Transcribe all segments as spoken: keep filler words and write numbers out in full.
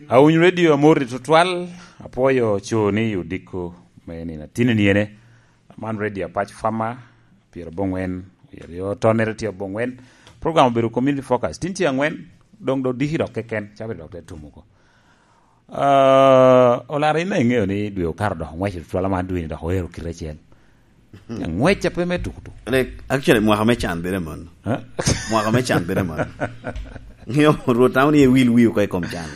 Awiny Radio, amor i tutwal. Apwoyo co ni odiko me nino atini ni ene. Man Radio Apac Fama, pyerabongwen, oyo tonnere tye abongwen. Program obedo Community Focus. Tin tye angwen, dong do diki dok keken, cabit dok te tum oko. Ah, Olara, in iŋeo ni dwe okato dok oŋwec i tutwal, man dwe ni dok oero kite acel. Ngwec a pe me tukutuk. Like, actually, mwaka me can bere man. Ha? Mwaka me can bere man. Ngeo, Rwot tamo ni ewil wi oko i kom can.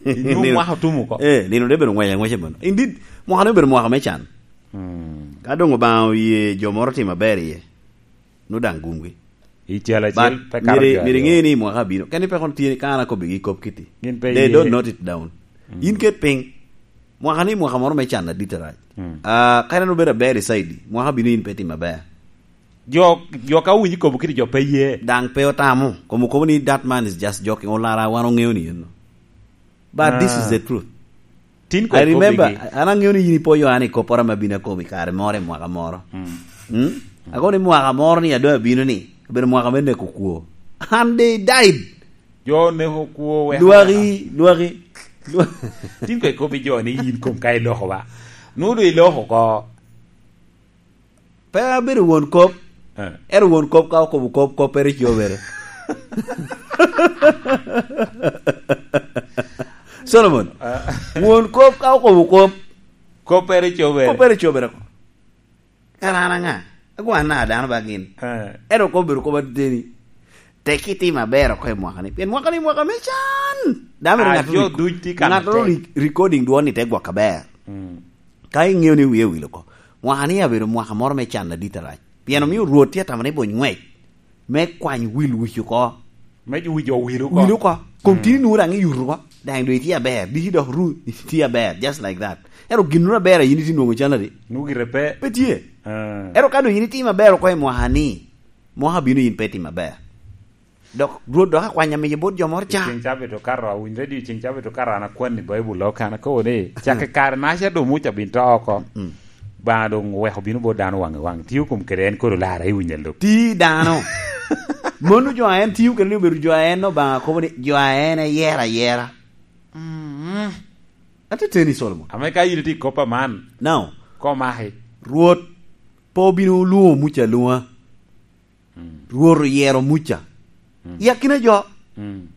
Inyo mwaka otum oko. Eh, nino de bedo ngwec angwec man. Indeed, mwaka ne obedo mwaka me can. Hmm. Ka dong Obaŋa oye jo moro timo aber iye, no daŋ gumgi. I cal acel. But pe kato myero, jo myero aryo. Iŋe ni mwaka bino. Keni pe kono tye ka an akobbigi kop kiti. Gin pe. They iye. Don't note it down. Mm. In ket piny. Mwaka ni mwaka moro me can adit arac. Mm. Ah, ka en obedo aber i saidi, mwaka bino in pe tim aber. Jo, jo ka owinyo kobo kiti jo pe ye. Daŋ pe otamo. Komo kobo ni that man is just joking. Olara, wan oŋeo ni eno. But this is the truth. Tin kong I remember, ikobigi. An aŋeo ni yin ipo Yohana i kopporo ame abino akobo i kare moro i mwaka moro. Mm. Mm? Akobo ni mwaka moro ni a doŋ abino ni, obedo mwaka me neko kwo. And they died. Jo neko kwo weko. Lwaki, lwaki, lwaki. Tin kong ikobi jo ni yin kom ka iloko ba. Nwoŋo doŋ iloko oko. Pe abedo won kop. Eh. Ero won kop ka okobo kop, koppere cobere. Solomon, eh, won kop ka okobo kop, koppere cobere. Koppere cobere. Kara an aŋa? Agwa na dano ba gin. Eh. Ero kop bedo kop ateni. Tek itimo aber oko i mwaka ni. Pien mwaka ni mwaka me can. Dano mere. Ah, ŋat jo ri-, duc tye ka ŋat tek. Ri-, recording dwon ni te gwok aber. Mm. Ka iŋeo ni wie owil oko, mwaka ni abedo mwaka moro me can adit arac. Pien omio Rwot tye atamo ni bony ngwec me kwany wil wic oko. Me jo wic owil oko. Wil oko. Kom tini nwoŋo daŋ iyuto oko. Daŋ doŋ itye aber. Diki dok ru itye aber. Just like that. Ero ginnoro aber a yin itye nwoŋo can adi? Nwoŋo gire pe. Pe tye. Ah. Ero ka doŋ yin itimo aber oko i mwaka ni, mwaka bino yin pe itimo aber. Dok Rwot dok akwanya miyo bot jo moro ca. Ceng cabit okato, awinyo radio ceng cabit okato, an akwan i Baibul oko, an akobo ni, cak i kare naca doŋ Muca bin to oko. Mm. Baŋa doŋ oweko bino bot dano waŋ i waŋ. Tio kom kede en koro lara i winya lok. Ti dano. Mano jo a en tio kede ni obedo jo a en Obaŋa kobo ni jo a en eyero ayera. Mm. Ate teni Solomon. Ame ka yin itye i kop aman. Now, komaki. Rwot pe obino lwoŋo Muca alwoŋa. Mm. Rwot oyero Muca. Mm. I akina jo. Mm.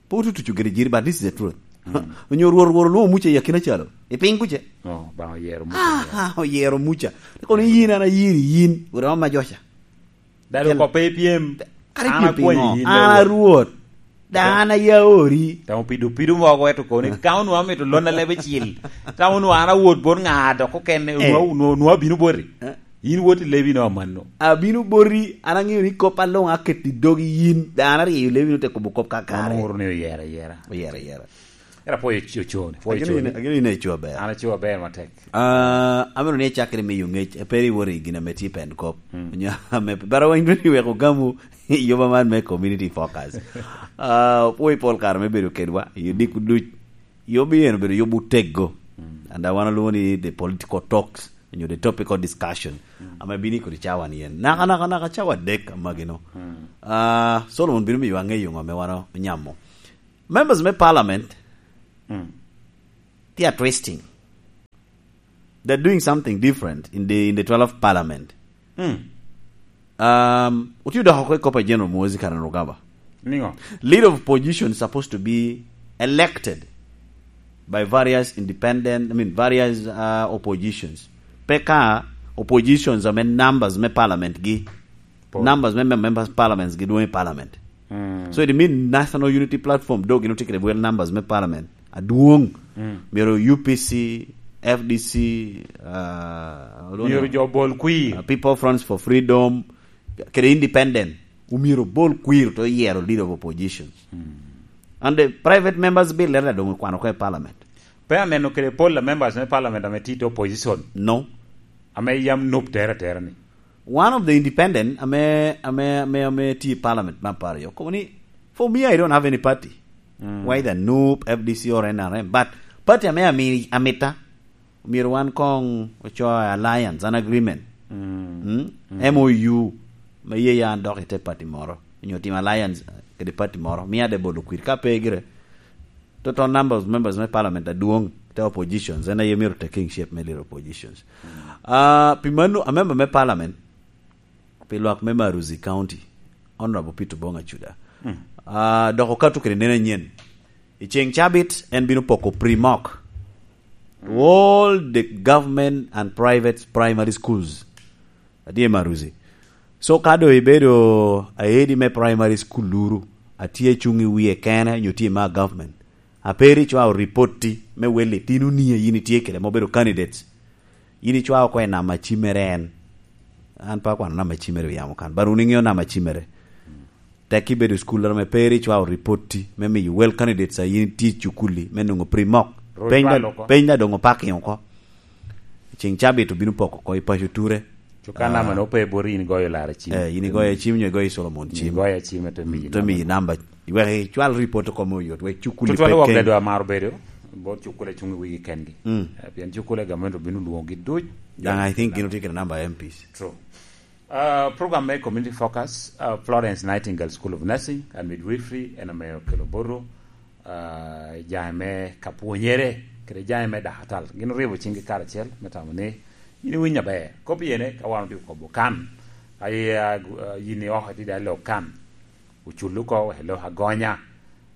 Pe otutuco gire jiri, but this is the truth. Mm. Onyo Rwot, Rwot olwoŋo Muca i akina calo. I piny kuce. Oh, ba oyero Muca. Ah, ah, oyero Muca. Kono yin an ayiri yin, wot ama joca. Dalo kop pe ipyem. Kare an ipyem akwanyi piŋo? Yin, an a Rwot. Dano a ya ori. Tamo pido pido mogo eto koni. Ka onwa mito lon a lebe cil. Tamo onwa an awot bot ŋa dok okene, eh, onwa, onwa, onwa bino boti. Eh. Yin wot i lebi no amanno. Abino boti, an aŋeo ni kop aloŋ aketo i dogi yin. Dano aryeyo lebi no te kobo kop kakare. An oro ni oyera, yera. Oyera, yera. Era pwoyo co-, co-, pwoyo. Ageno co-, yin, ageno yin eco aber. An eco aber matek. Ah, amito ni icakere miyo ŋec, pe ri wori gin ame tye pen kop. Mm. Onyo ame, bara weng dwe ni weko gamu, yoba man me community focus. Ah, pwoyo pol kare me bedo kedwa, i diko duc. Yobi en obedo yobu tego. Mm. And I wanna lwongo ni the political talks, onyo the topical discussion. Mm. Ame bini kodi cawa ni en. Naka, naka, naka cawa dek amagino. Mm. Ah, Solomon bino miyo aŋeyo ŋo ame wan onyamo. Members me parliament, mm, they are twisting. They're doing something different in the, in the twelfth parliament. Mm. Um, otio dok oko i kop a General Muhoozi Kainerugaba. Niŋo? Leader of opposition is supposed to be elected by various independent, I mean, various, uh, oppositions. Pe ka oppositions ame numbers me parliament gi, po, numbers me mem-, members parliaments gi dwong i parliament. Mm. So it mean National Unity Platform, dog gin otye kede well numbers me parliament adwong. Mm. Myero U P C, F D C, uh, myero jo bol kwir. Uh, People Fronts for Freedom, kede independent, omyero bol kwir to yero leader of opposition. Mm. And the private members bill leta dong okwano ko i parliament. Pe aneno kede pol a members me parliament ame tye i opposition. No. Ame yam nup tere atera ni. One of the independent ame, ame, ame, ame tye i parliament me apar aryo, kobo ni, "For me, I don't have any party. Mm. Whether nup, F D C or N R M. But party ame ami-, amita, myero wan kong oco alliance, an agreement. Mm. Mm? Mm. M O U, me ye ya an dok i te party moro. Onyo tim alliance, eh, kede party moro. Mia de bolo kwir. Ka pe gire, Total number of members me parliament adwoŋ te oppositions, en aye myero taking shape me leader oppositions. Ah, pi mano, a member me parliament pi lwak me Maruzi County, Honorable Peter Bonga Chuda. Ah, dok okato kede neno anyen. I ceŋ cabit, en bino poko primok to all the government and private primary schools. Adye Maruzi. So, ka doŋ ibedo aedi me primary school luru, atye cuŋ i wie kene, nyo tye ma government, a pe ri icwao ripotti me wel itino ni yin itye kede ma obedo candidates, yin icwao oko i namba cimere en. An pe akwano namba cimere i yamo kan, but wun iŋeo namba cimere. Tek ibedo i cukul, ame pe ri icwao ripotti me miyo well candidates a yin tye i cukuli me nwoŋo primok. Ru Peny da, icwalo oko. Peny da doŋ opaking oko. Ceŋ cabit obino poko oko i paco ture. Cuka Ah. Nama no pe bot yin igoyo lara cim. Eh, yin igoyo cim nyo igoyo Solomon cim. Igoyo cim, ete miyi Te miyi namba. Wek icwal ripot oko mo yot, wek cukuli Tutwale pe wok ken. Ledo amaro bedo, bot cukule cuŋ i wigi kengi. Mm. Eh, pien cukule gamente obino lwoŋogi duc. Daŋ I think gin otye kede namba M Ps. True. Uh, program me Community Focus, uh, Florence Nightingale School of Nursing and Midwifery, en ame okelo boto, uh, jami me ka pwonyere, kede jami me dakatal. Gin oribo ciŋgi karacel, me tamo ni, yin iwinyo aber. Kop iyene, ka wan otye kobo kan, aye, uh, yin i oko itye dalo kan. Ocul oko, wek elok agonya.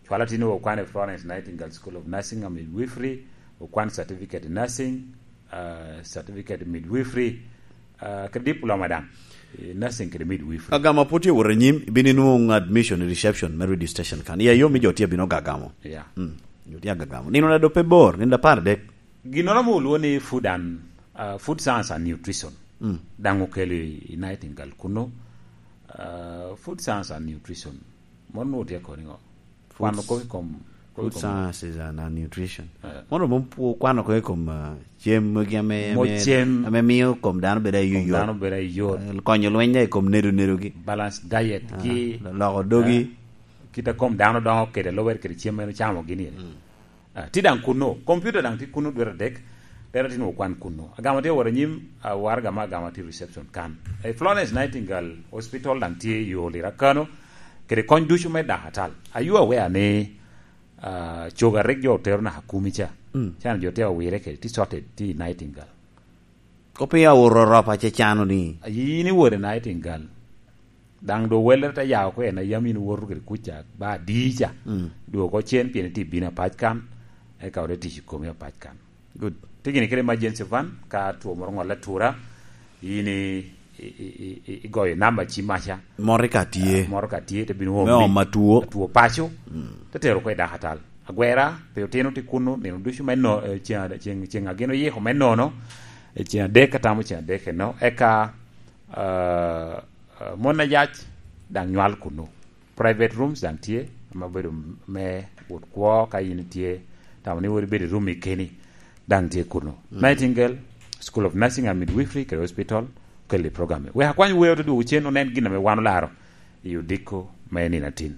Cwalo tin okwan i Florence Nightingale School of Nursing and Midwifery, okwan certificate in nursing, uh, certificate in midwifery, uh, kede diploma daŋ, i nursing kede midwifery. Agama pwod tye wot anyim, ibino inwoŋo admission i reception me radio station kan. Iya, yo mi jo tye bino gagamo. Yeah. Mm. Jo tye agagamo. Nino na dope bor, nino apar adek. Ginnoro mo olwo ni food and, uh, food science and nutrition. Mm. Daŋ okelo i, i Nightingale kuno. Uh, food science and nutrition. Mon nwoŋo tye koni ŋo? Food Kwano kop i kom, kop i food kom sciences and, and nutrition. Eh. Mono mom pwo-, kwano ko i kom, ah, cem magi ame, Mo ame, cem. Ame miyo kom dano bedo Kom ayot. Dano bedo ayot. Eh, konyo lweny da i kom nedo nedogi. Balance diet Ah, gi, loko dogi. Eh, kit a kom dano dongo kede lubere kede cem ma en ocamo gini. Mm. Ah, tye daŋ kuno. Computer daŋ tye kuno dwe adek. Dero tye nwoŋo kwan kuno. Agama tye woro anyim, ah, waraga ma agama tye reception kan. Eh, Florence Nightingale Hospital daŋ tye i yo Lira Kano. Kede kony ducu me dakatal. Are you aware ni, ah, coga rik jo otero naka kumi ca? Mm. Can jo tye awire kede, tye sorted, tye i Nightingale. Kopiny awoto rop acecano ni. Yin iwoto i Nightingale. Daŋ doŋ wellere te ya oko en a yam in iwoto kede kuca, ba adi ca. Mm. Dwogo oko cen pien itye bino apac kan, eka ote tic i komi apac kan. Good. Tye gini kede emergency van, ka two moro ŋolle atura, in i, i, i, i, i, igoyo namba ci maca. Moto ka tye. Eh, moto ka tye, te bino Me omi. Omo atwo. Atwo paco, mm, te tero oko i dakatal. Agwera, pe otino tye kuno, nino ducu me no-, eh, ceŋ, ceŋ, ceŋ agin oyiko me nono, eh, ceŋ adek, atamo ceŋ adek eno. Eka, eh, eh, mon ayac daŋ nywal kuno. Private rooms daŋ tye, ame obedo me wot kwo ka in itye, tamo ni wot ibedo i room i keni, daŋ tye kuno. Mm. Nightingale School of Nursing and Midwifery kede hospital, okelli program. Wek akwany wer ote dwogo cen onen gin ame wan olaro i odiko me nino atin.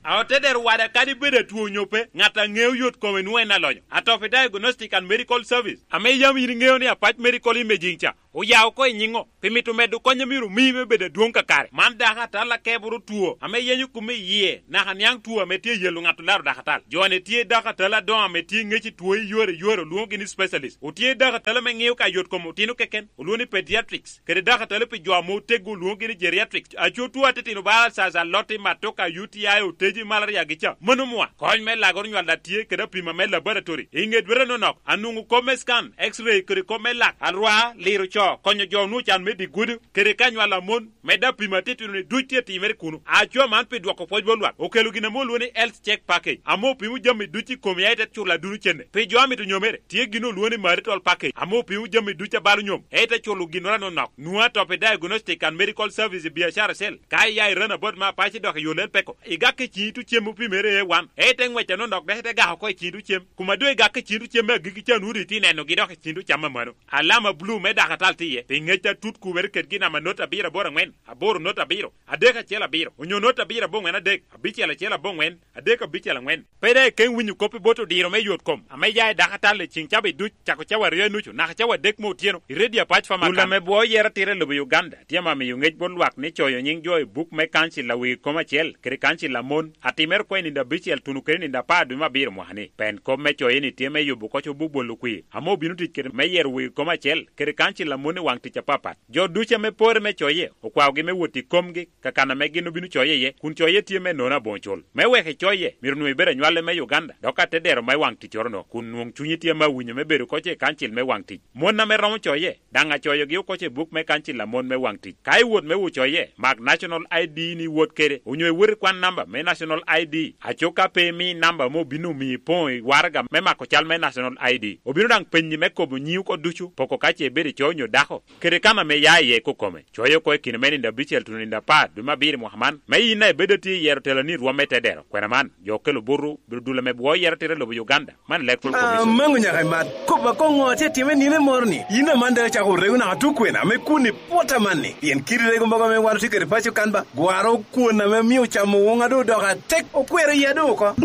A otedero wada kadi bed atwo onyo pe, ŋat a ŋeo yot kome nwoŋo en alonyo. Atop i Diagnostic and Medical Service, ame yam in iŋeo ni Apac Medical Imaging ca, oya oko i nyiŋo, pi mito medo kony a myero omi me bedo adwoŋ kakare. Man dako atal akeboro two, ame yenyo kume i yie, naka niaŋ two ame tye yelo ŋat olaro dako atal. Jo-ni tye dako atal adoŋo ame tye ŋec i two i yore i yore, olwoŋogi ni specialist. Otye dako atal ame ŋeo ka yot kom otino keken, olwoŋo ni pediatrics. Kede dako atal pi jo ame oteggo, olwoŋogi ni geriatrics. Aco two atitino bala alsas, alotti, matoka, U T I, oteji, malaria gi ca. Mano mwa. Kony me lagoro nywal daŋ tye, kede apima me laboratory. I ŋe dwete nonok, anwoŋo kop me scan, X-ray, kede kop me lak, alwa, liro co, konyo jo onwoŋo can me dye gudo, kede ka nywal a mon, medde apima atitino-ni duc tye timere kuno. Aco man pi dwoko pwoc bot lwak, okelo gin ame olwoŋo ni health check package, ame opimo jami duc i komi, aye te culo aduno cente. Pi jo a mito nyomere, tye gin olwoŋo ni marital package, ame opimo jami duc a balo nyom, aye te culo ginnoro anonok. Nwoŋo atop i Diagnostic and Medical Service i biacara cell. Ka iya i Runabout me Apac dok i yo Lel Peko, igak i ciŋ itu cem opimere A one, aye te ŋwec anonok dok ite gak oko i ciŋ itu cem. Kuma doŋ igak i ciŋ itu cem me agikki ca, nwoŋo doŋ itye nenogi dok i ciŋ itu cam amano. Alama bulu me dakatal Tye pi ŋec atut kubere kedgi namba not abiro aboro aŋwen, aboro not abiro, adek acel abiro, onyo not abiro aboŋwen adek, abicel acel aboŋwen, adek abicel aŋwen. Pe daŋ ikeŋ winyo kop i bot odiro me yot kom ame ya i dako atal i ceŋ cawa i duc, cako cawa aryo i nucu, naka cawa adek me otyeno, i redio apac pa Makan. Dul ame bwo yero atira i lobo Uganda, tye ame amiyo ŋec bot lwak ni coyo nyiŋ jo i buk me kancil a wegi kom acel, kede kancil a mon, atimere oko i nino abicel tuno kede nino apar dwe me abiro mwaka ni. Pen kop me coye ni tye me yubo oko cobo bolo kwir, ame obino tic kede me yero wegi kom acel, kede kancil a mon i waŋ tic apapat. Jo ducu ame pore me coye, okwaogi me wot i komgi, ka kan ame gin obino coye iye, kun coye tye me nono aboŋo cul. Me wek icoye, myero onwoŋo ibed anywale me Uganda, dok atedero me waŋ ticcoro-no, kun nwoŋ cunyi tye ame awinyo me bedo oko i kancil me waŋ tic. Mon ame romo coye, daŋ acoyogi oko i buk me kancil a mon me waŋ tic. Ka iwot me wo coye, mak National I D ni iwot kede, onyo iwot ikwan namba me National I D. Aco ka pe imi namba ame obino omi ipoŋo i waraga me mako cal me National I D, obino daŋ penyi me kobo nyiŋi oko ducu, poko ka ce ibedo i co onyo dako, kede kan ame ya iye kokome. Coye oko i kine me nino abicel tuno nino apar dwe me abiro i mwaka man, me yin a ibedo atye i yero teloni i rwom me tedero. Kwena man, jo okelo butu, bedo dul ame bwo yero atira i lobo Uganda. Man Electoral Commission. Amaŋo nyaka i mat. Kop akoŋ ŋo tye timme nino moro ni? Yin aman daŋ icako rego naka tuk kwena ame kun i pwot amanni? Pien kit rego mogo ame wan otye kede paco kan ba, gwaro kwon ame mio camo woŋa doŋ odoko atek, okwero iya doŋ oko.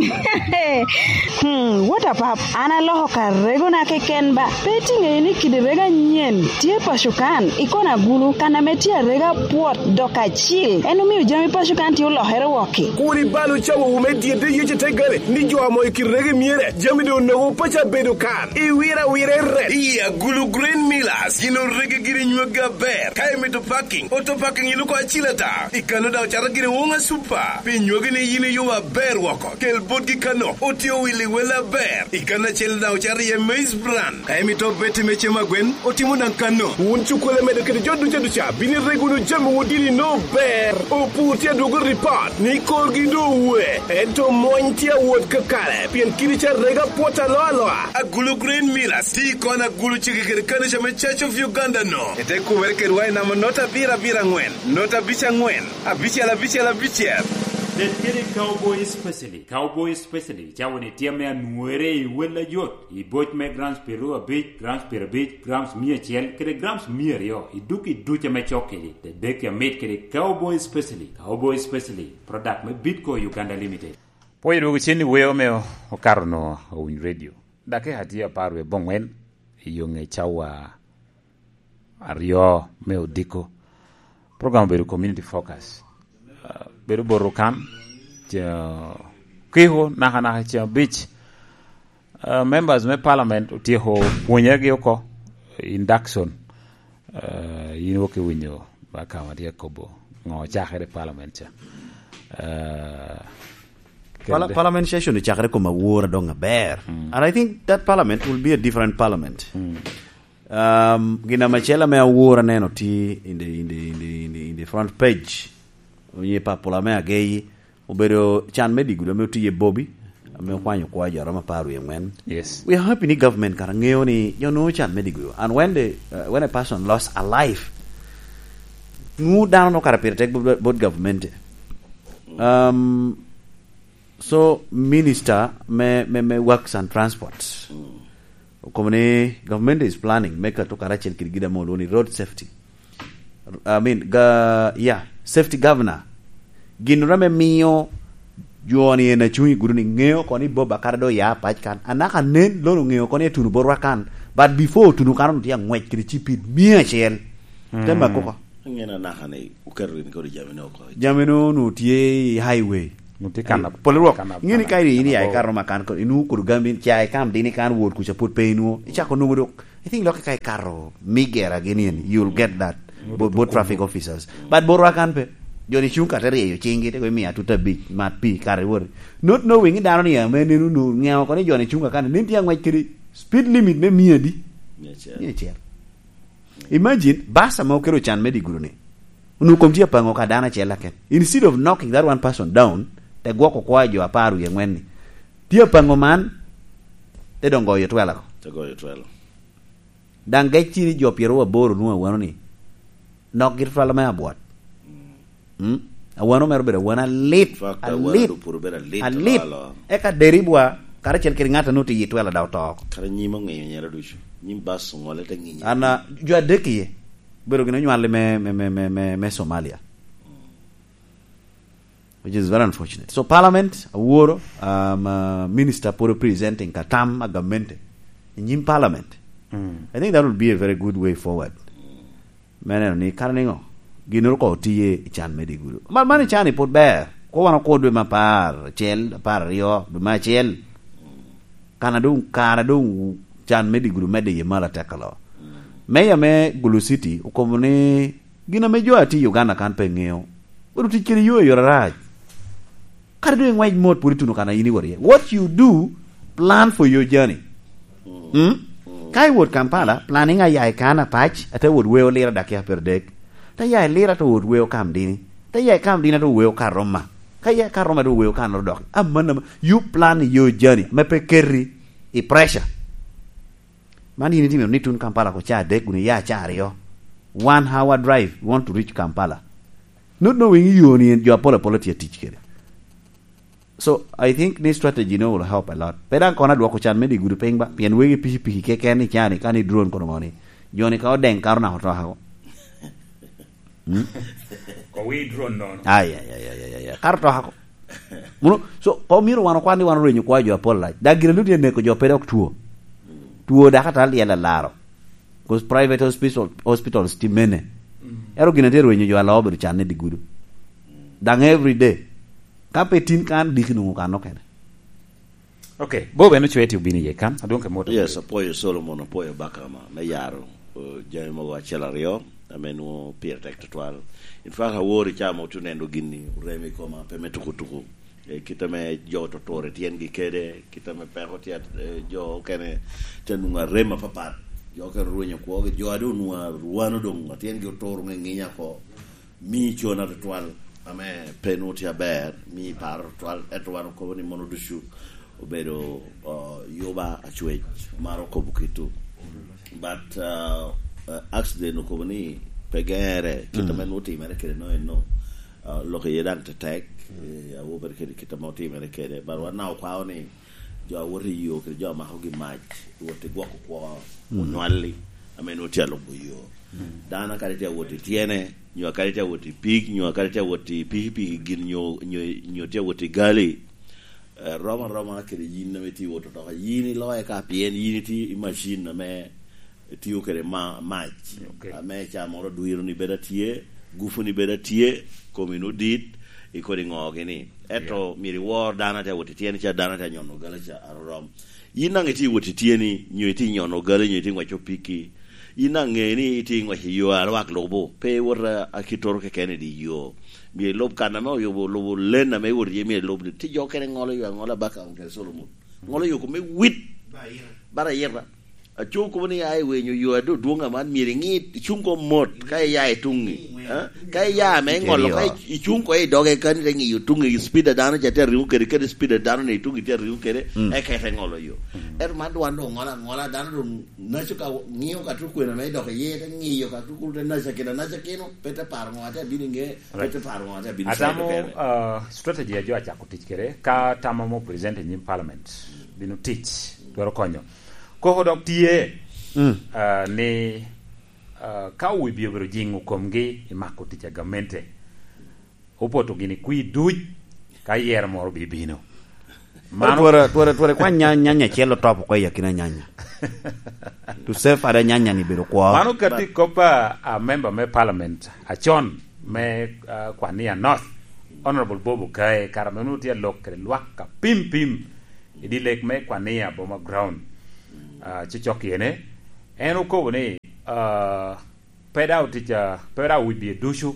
Hmm, what a pap. An aloko ka regona keken ba. Pe itiŋeyo ni kidi rego anyen tye paco kan, i kona gulu, kan ame tye arega pwot dok acil. En omio jami paco kan tye olokere wok-ki. Kur ibal ocawowu me dyedde yece te gale, ni jo amo i kit rego myere, jami doŋ onogo paco abedo kan. Iwiro awira i ret. I Agulu Grain Millers, gin orege giri nywagi aber. Ka imito parking, auto parking iluko acil ata. I kano daŋ ocato giri woŋa super. Pi nywagi ni yin iyubo aber woko. Kel botgi kano, otye owil i wel aber. I kano acel daŋ ocato iye maize bran. Ka imito beti me cem agwen, otimo daŋ kano. Wun cukkole medo kede jo duca duca, bino irego wunu jami wun dini no ber. Opur tye adwogo ripot ni korgi doŋ owe, ento mony tye awot kakare, pien kidi ca rega pwot alo aloa. Agulu Grain Millers, ti kon agulu cege kede kanica me Church of Uganda no. Ete kumere kedwa i namba not abiro abiro aŋwen, not abic aŋwen, abicel abicel abicel. Bed kede Cowboy Specialist. Cowboy Specialist, cawa ni tye ame anwore i wel ajot, i boc me grams piero abic, grams piero abic, grams mia acel, kede grams mia aryo, i duk i duc ame cok kedi, te dek amit kede Cowboy Specialist. Cowboy Specialist, product me Bitco Uganda Limited. Pwoyo dwogo cen i weyo me okato no Owiny Radio. Dakika tye apar wie boŋwen, i yo ŋe cawa aryo me odiko. Program obedo community focus. Ah, bedo bot okan, ce-, kiko naka naka ceŋ abic. Ah, members me parliament otyeko pwonyergi oko, induction. Ah, in wok iwinyo ba ka ma tye kobo ŋo ocakere i parliament ca. Ah, Pala-, kede parliament session ocakere kom awora doŋ aber. Mm. And I think that parliament will be a different parliament. Mm. Um, gin ame acel ame awor aneno tye in the, in the, in the, in the, in the front page. Onye papula me ageyi, obedo can me digulu ame otiye Bobi, ame okwanyo kwa jo aromo apar wie angwen. Yes. We are happy ni government kara ŋeo ni jo nwoŋo can me digulu. And when the, uh, when a person lost a life, nwoŋo dano no kara pire tek bot, bot government. Um, so minister me, me, me works and transport. Mm. Okobo ni government is planning me kato karacel kede gin ame olwongo ni road safety. I mean, ga, yeah, safety governor. Gin ame miyo jo ni en acung i gudo ni ŋeo ko ni Bob Akata do ya pac kan. Anaka nen lono ŋeo ko ni etuno borwa kan. But before otuno kan ono tye angwec kede cipid mia acel. Mm. Te mako ko. Angen anaka ni oketo rin kodi jami no oko. Jami no, no tye i highway. No tye kan. Pol rwok. Kan, ingeni kan, ka iri ini kan ya ikato ma kan ko, inu kudu gambi, cha ikam dini kan wot kuca put pe inu. Ichako nungo dok. I think loki ka ikato migera gini en, you'll get that. Mm. Both, both traffic officers. But borwa kan pe. Joni chung ka te rieyo cinggi, te go imiya tuta bic, mat pi, kare wori. Not knowing dano ni ame nenu nu, ngeo ko ni joni chung ka kan, nin tye angwec kedi speed limit me mia di? Mia acel. Mia acel. Imagine, bus ame okelo can me digulu ni. Onwoŋo kom tye apaŋo ka dano acel aken. Instead of knocking that one person down, te gwoko kwa jo apar wie angwen ni. Tye apaŋo man, te doŋ goyo twela ko. Te goyo twela. Daŋ gec tye ni jo pyeraryo aboro nwoŋo awano ni. Nok gir twela me abwot. Mm. Mm? Awano mere obedo awano alit, in fact, awano alit, do puro bedo alit, alit. Alo, alo. Eka deribwa, karacel kede ŋat a nwoŋo tye i twela daŋ oto oko. Kara nyim oŋinyo nyera ducu. Nyim bus oŋole te ŋinyo. An, ah, jo adek iye. Obedo gin onywalli me, me, me, me, me, me Somalia. Which is very unfortunate. So parliament, aworo, um, uh, minister pwod presenting ka tam a gamente. I nyim parliament. Mm. I think that would be a very good way forward. Me neno ni kara niŋo, ginnoro ko otiye i can me digudu. Man, man i can i pwod ber. Ko wan okur dwe me apar acel, apar aryo, dwe me acel. Kana doŋ, kara doŋ can me digudu medde iye malo atek alo. Meya me Gulu City okobo ni gin ame jo a tye i Uganda kan pe ŋeo, bedo tic kede yo i yore arac. Kadi doŋ iŋwec mot, pwod ituno kan a in iwot iye. What you do, plan for your journey. Mm? Ka iwot Kampala, planning a ya i kan apac, ate wot weo Lira dakiya pyeradek. Te ya i Lira, te wot weo Kamdini. Te ya i Kamdini, ate weo Karoma. Ka ya i Karoma, ate weo Kanoro dok. Aman, aman, you plan your journey. Me pe keti i pressure. Man yin itimo ni tun Kampala ko ca adek, kun iya ca aryo. One hour drive, you want to reach Kampala. Not knowing yo ni en jo apol apol tye tic kede. So, I think ni strategy no will help a lot. Pe daŋ kono adwoko can me digudu piny ba, pien wegi pikipiki keken i cani, ka ni drone kono ŋoni. Jo ni ka odeŋ karo nako to ako. Hmm? Ko wi drone nono. Ay, ay, ay, ay, ay, ay. Karo to ako. Muno, so, ko myero wan okwan ni wan orwenyo kwa jo apol lac. Dak gire ludi eneko jo pe dok tuo. Tuo dak ata lyel alaro. 'Cause private hospital, hospitals tye mene. Mm. Ero gin atye rwenyo jo alo obedo can ni digudu. Daŋ every day. Ka pe tin kan, diki nwoŋo kan okene. Ok, Bob en ocwee ti obino iye kan, adwoŋ ke mot. Yes, apwoyo Solomon, apwoyo Bakama me yaro, uh, jami mogo acel aryo, ame nwoŋo pire tek tutwal. In fact, awor i caa ma otye oneno gini, oremo i koma, pe me tuku tuku. Eh, kit ame jo otur i tyengi kede, kit ame peko tye, eh, jo okene tye nwoŋo arem apapat. Jo okene orwenyo kwogi, jo a doŋ nwoŋo arwano doŋ, a tyengi otur ŋeŋinya oko. Mi cona tutwal, ame pe nwoŋo tye aber, mi paro tutwal, ento wan okobo ni mono ducu obedo, uh, yuba acwec, maro kobo kitu. But, uh, uh, accident okobo ni pe gere, kit ame nwoŋo timere kede no eno. Uh, lok iye daŋ tetek, eh, awobe kede kit ame otimere kede. But wan na okwao ni jo a woto i yo kede jo a makogi mac, wot i gwoko kwo, onywalli, ame nwoŋo tye alubo yo. Dano kadi tye awot i tyene, nyo kadi tye awot i pig, nyo kadi tye awot i pikipiki gin, nyo, nyo, nyo tye awot i gali, eh, rom aroma kede yin ame tye iwot otoka. Yin iloye ka pien yin itye i macin ame tiyo kede ma-, mac. Ok. Ame ca moro dwiro ni bedo atye, gufu ni bedo atye, komi ni odit, ikodi ŋo gini. Ento myero iwor dano a tye awot i tyene ca, dano a tye anyono gala ca, arorom. Yin daŋ itye iwot i tyeni, nyo itye inyono gali, nyo itye iŋweco piki. Yin daŋ ŋe ni itye iŋweco i yo a lwak lubo. Pe iwot a, a kittoro keken i dye yo. Myero ilub kan ame oyubo, lubo len ame iwot iye, myero ilub ni. Tye jo okene ŋolo yo aŋola baka kede Solomon. Ŋolo yo kome wit. Bara ira. Aco kobo ni ya i wenyo yo a doŋ dwoŋ aman, myero iŋi, icuŋ ko mot ka iya i tuŋi. Ha? Ka iya ame iŋolo, ka icuŋ ko i doge kani te ŋiyo tuŋi, i speed a dano ca tye ariŋo kede, kede speed a dano ni tuŋi tye ariŋo kede, eka ite ŋolo yo. Ento man doŋ wan doŋ ŋolo aŋola, dano doŋ naco ka ŋiyo ka tukwena me dok iye, te ŋiyo ka tukulu te naca kino, naca kino, pe te paro ŋo ate abino i ŋe, pe te paro ŋo ate abino i side okene. Atamo, uh, strategy a jo acako tic kede, ka tam amo present i nyim parliament, bino tic, twero konyo. Koko dok tye, ah, ni, ah, ka owibye obedo jiŋo komgi i mako tic a gamente, opoto gini kwir duc ka yero moro bibino. Mano twere, twere, twere kwa nya-, nyanya acel otop oko i akina nyanya. To save ada nyanya ni bedo kwo. Mano ka tye kop a, a member me parliament acon me, ah, Kwania North, Honorable Bob Okaye, kara meno tye alok kede lwak ka pim pim. I dye lek me Kwania Boma Ground, ah, cocok yene, en okobo ni, ah, pe daŋ otic, ah, pe daŋ owibye ducu.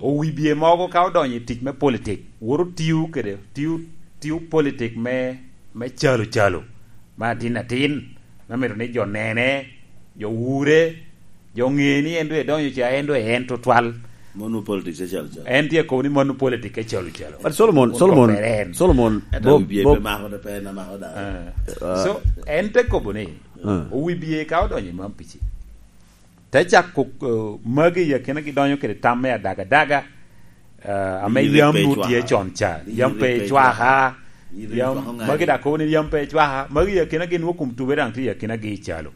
Owibye mogo ka odonyo i tic me politik, woto tiyo kede, tiyo, tiyo politik me, me calo calo, me atin atin, me mito ni jo nene, jo wure, jo ŋe ni en doŋ edonyo ca, en doŋ en tutwal. Mano politics e calo calo. En tye kobo ni mano politics e calo calo. But Solomon, Solomon, Solomon, ento Bob, wiye Bob pe mako, pe na mako dano. Ah. So, en te kobo ni, ah, owibye ka odonyo i man pici. Te cako, eh, magi i akina gidonyo kede tam me adagadaga, eh, ame yam nwoŋo tye con ca. Yam pe ecwaka. Yam magi daŋ kobo ni yam pe ecwaka. Magi i akina gin nwoŋo kom tube daŋ tye i akina gi i calo.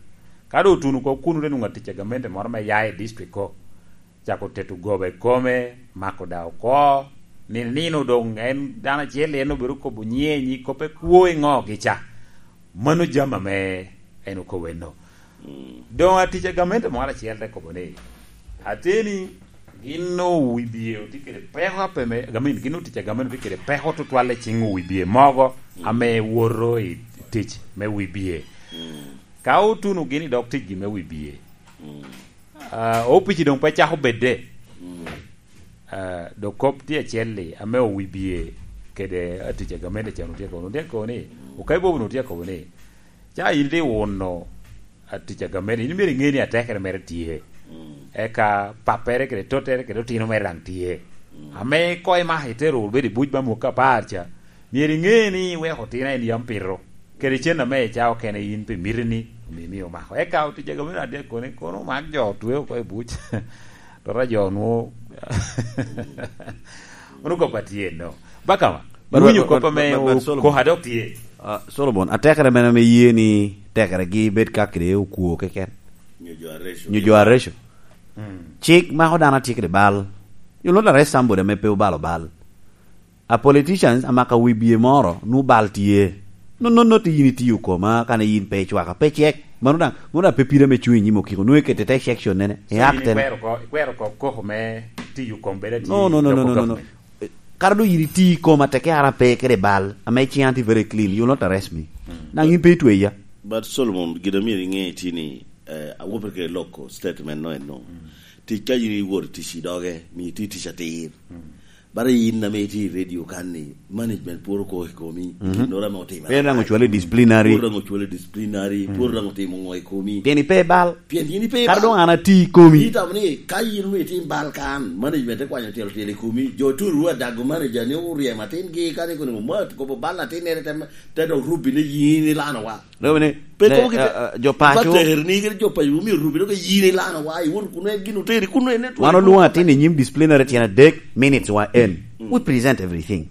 Ka doŋ otuno oko kuno, te nwoŋo atic a gamente moro me ya i district ko, cako teto goba i kome, mako da oko, nino nino doŋ en dano acel, en obedo kobo nyiŋe, nyi kop ekwo i ŋogi ca. Mano jami ame en okobo enno. Mm. Doŋ atic a gamente moro acel te kobo ni, ateni gin owibie otye kede peko ape me, I mean, gin otic a gamente otye kede peko tutwal i ciŋ owibie mogo, mm, ame woto i tic me wibie. Mm. Ka otuno gin i dog ticgi me wibie, mm, ah, opici doŋ pe cako bedde. Mm. Ah, dok kop tye acel-li ame owibie kede atic a gamente can otye kobo, otye kobo ni, mm, Okai Bobo otye kobo ni, ca in tye wuno atic a gamente, in myero iŋe ni atekere mere tye. Mm. Eka pappere kede tottere kede otino mere daŋ tye. Mm. Ame koŋ imako itero wunu bedo i buc ba mwaka apar ca, myero iŋe ni iweko otino en yam pito. Kede cen ame ica okene in pe miti ni omi, mi omako. Eka otic a gamente adek kono, kono omak jo otwe oko i buc. Tota jo nwo. Ono kop atye no. Bakama, but, iwinyo but, kop but, ame but, but o-, Solomon. Koha dok tye. Ah, Solomon, atekere mene ame ye ni tekeregi bed ka kede okwo keken? Nyo jo areco. Nyo jo areco. Mm. Cik mako dano atye kede bal. You not arrest somebody ame pe obalo bal. A politicians amaka wibie moro, nu bal tye. No, no, no, ti yin itiyo koma, kane yin pe icwaka, pe cek. Mano daŋ, mano daŋ pe pire me cuŋ i nyim okiko. Nwoŋo ikete te section nene. So, e act ene. Ikwero ko, ikwero ko koko me tiyo kom bed ati. No, no, no, no, no, no, no. Government. Eh, kara do yin iti koma teke ara pe kede bal, ame ciŋ anti very clean, you will not arrest me. Mm. Naŋ yin pe itweya. But Solomon, gin amyero iŋe ti ni, eh, awopere kede loko statement no eno. Mm. Tic ka yin iwor tic i doge, mi iti tic atir. Mm. Bara yin ame itye i radio kan ni, management pwod oko i komi, mhm, ginnoro ame otimere. Pien daŋ ocwalo i disciplinary. Pwod daŋ ocwalo i disciplinary, mhm, pwod daŋ otimo ŋo i komi. Pien ipe bal. Pien yin ipe bal. Kara doŋ an ati i komi. Itamo ni, ka yin onwoŋo itim bal kan, management te kwanyo tyelo tyelo i komi, jo turu adago manager ni oryemo atin gi, ka ni kono, "Ma, kobo bal atin nere te, te dok rubbi ni yin ilano wa." Lebe ni, pe ne, kobo kite, ah, ah, jo paco. Ba teri ni kede jo paco, omio rubi dok yin ilano wa, iwot kuno en gin oteri kuno en network. Wan olwoŋo atin i nyim disciplinary tyen adek, minutes wa en. Mm. We present everything.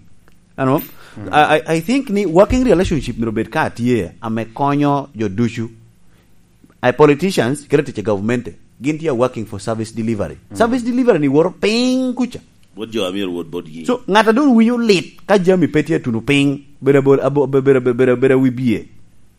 Ano? Mm. I, I, I think ni working relationship myero bed ka tye, ame konyo jo ducu. Ai politicians, kede tic i government, gin tye working for service delivery. Mm. Service delivery ni woro piny kuca. Bot jo a myero wot botgi. So, ŋat a doŋ winyo lit ka jami pe tye atuno piny, bedo abo-, abo-, be-, bedo, bedo, bedo, bedo wibie.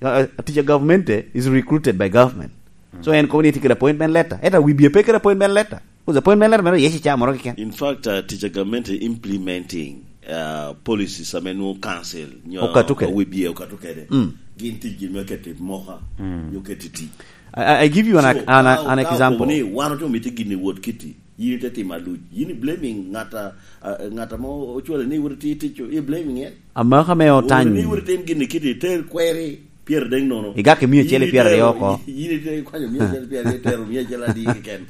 Uh, uh, tic a government, eh, is recruited by government. So, mm, en kobo ni tye kede appointment letter. Ento wibie pe kede appointment letter. 'Cause appointment letter mere yec i caa moro keken. In fact, uh, tic a government implementing, uh, policies ame nwoŋo council, nyo okato kede. Wibie okato kede. Mm. Gin tic gin me keto i moka, mm, nyo keto i tic. I, I, I give you an, so, an, ka, an ka example. Okobo ni wan otye omito gin i wot kiti. Yin ite timo aluc. Yin i blaming ŋat a, a, ŋat ame ocwale ni wot iti tic, i blaming en. Amaka me otany. Wot ni wot itim gin i kiti, iter kweri, pyeraryo nono. Igak i mia acel i pyeraryo oko. Yin ite kwanyo mia acel i pyeraryo, itero mia acel adi keken.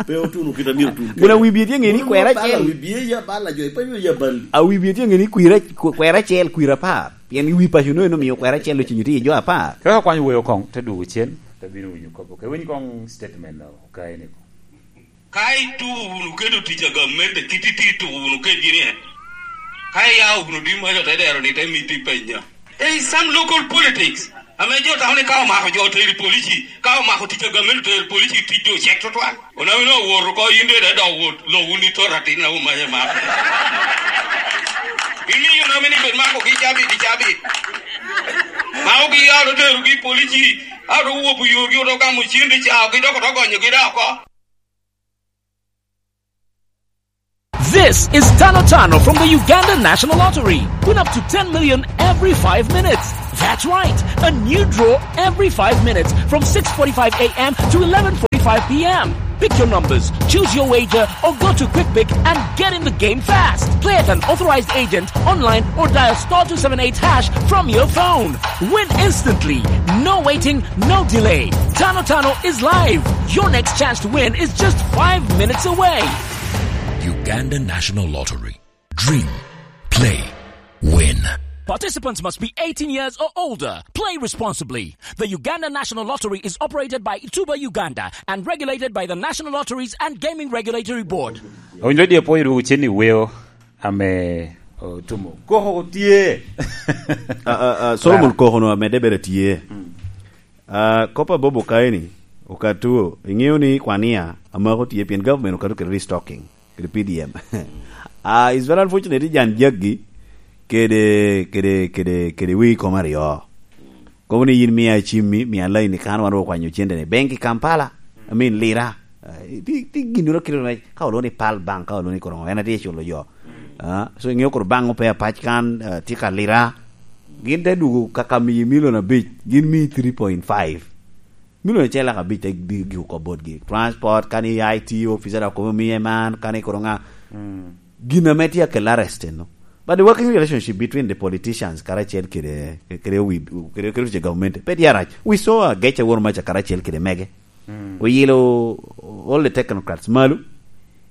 Pe otuno kit a myero otun kede. Wun a wibie tye ŋe ni kwera acel. Wun bala wibie ya bala jo, ipe yo ya bal. A wibie tye ŋe ni kwira, kw-, kwera acel, kwira apar. Pien i wi paco no en omio kwera acel ocinyo tye i jo apar. Ka kwanyo weo koŋ, te dwogo cen, te bino winyo kop. Ka iwiny koŋ statement no, ka en iko. Ka ituko wunu kede otic a gamente, kit iti tuko wunu kedgi ni en. Ka iyao wunu di maca te dero ni te miti penya. There is some local politics. Ame jo tamo ni ka omako jo otero i polici, ka omako tic a gamente otero i polici, tic jo ocek tutwal. Onamo ni owoto oko, yin de dok wot, lo wun i tot atin na omaye mako. Imiyo onamo ni bed makogi cabit i cabit. Makogi i ot oterogi i polici, ot owopo yorgi, oto gamo cen de caogi, dok oto gonyogi dok oko. This is Tano Tano from the Uganda National Lottery. Win up to ten million every five minutes. That's right, a new draw every five minutes from six forty-five a m to eleven forty-five p m. Pick your numbers, choose your wager, or go to QuickPick and get in the game fast. Play at an authorized agent, online, or dial star two seven eight hash from your phone. Win instantly. No waiting, no delay. Tano Tano is live. Your next chance to win is just five minutes away. Uganda National Lottery. Dream, play, win. Participants must be eighteen years or older. Play responsibly. The Uganda National Lottery is operated by Tuba Uganda and regulated by the National Lotteries and Gaming Regulatory Board. Owinjo dye pwoyo dwogo cen i weo ame otumo. Koko tye. Ah, ah, ah, Solomon Koko no amede bere tye. Mm. Ah, kop a Bobo kaeni, Okato, iŋeo ni kwania amako tye pien government okato kede restocking, kede P D M. Ah, it's very unfortunate ni jan jaggi kede, kede, kede, kede wii kom aryo. Kobo ni yin mia cimmi, mia laini kan wan okwanyo cente ni. Bank i Kampala, I mean, Lira. Ah, ti, ti gin duro kiro me, ka olwongo ni Pearl Bank, ka olwongo ni Korongo, en atye culo jo. Ah, so iŋeo koro bank ope apac kan, ah, tye ka Lira. Gin te dugo kaka miyi milion abic, gin miyi three point five. Milion acel lak abic te di-, giko kop botgi. Transport, kani I T officer dok kobo miye man, kani kuro ŋa. Gin ame tye akel arrest eno. But the working relationship between the politicians karacel kede, kede wi, kede, kede wice government, pe tye arac. We saw a Gece Awor Maca karacel kede mege. Oyilo all the technocrats malo,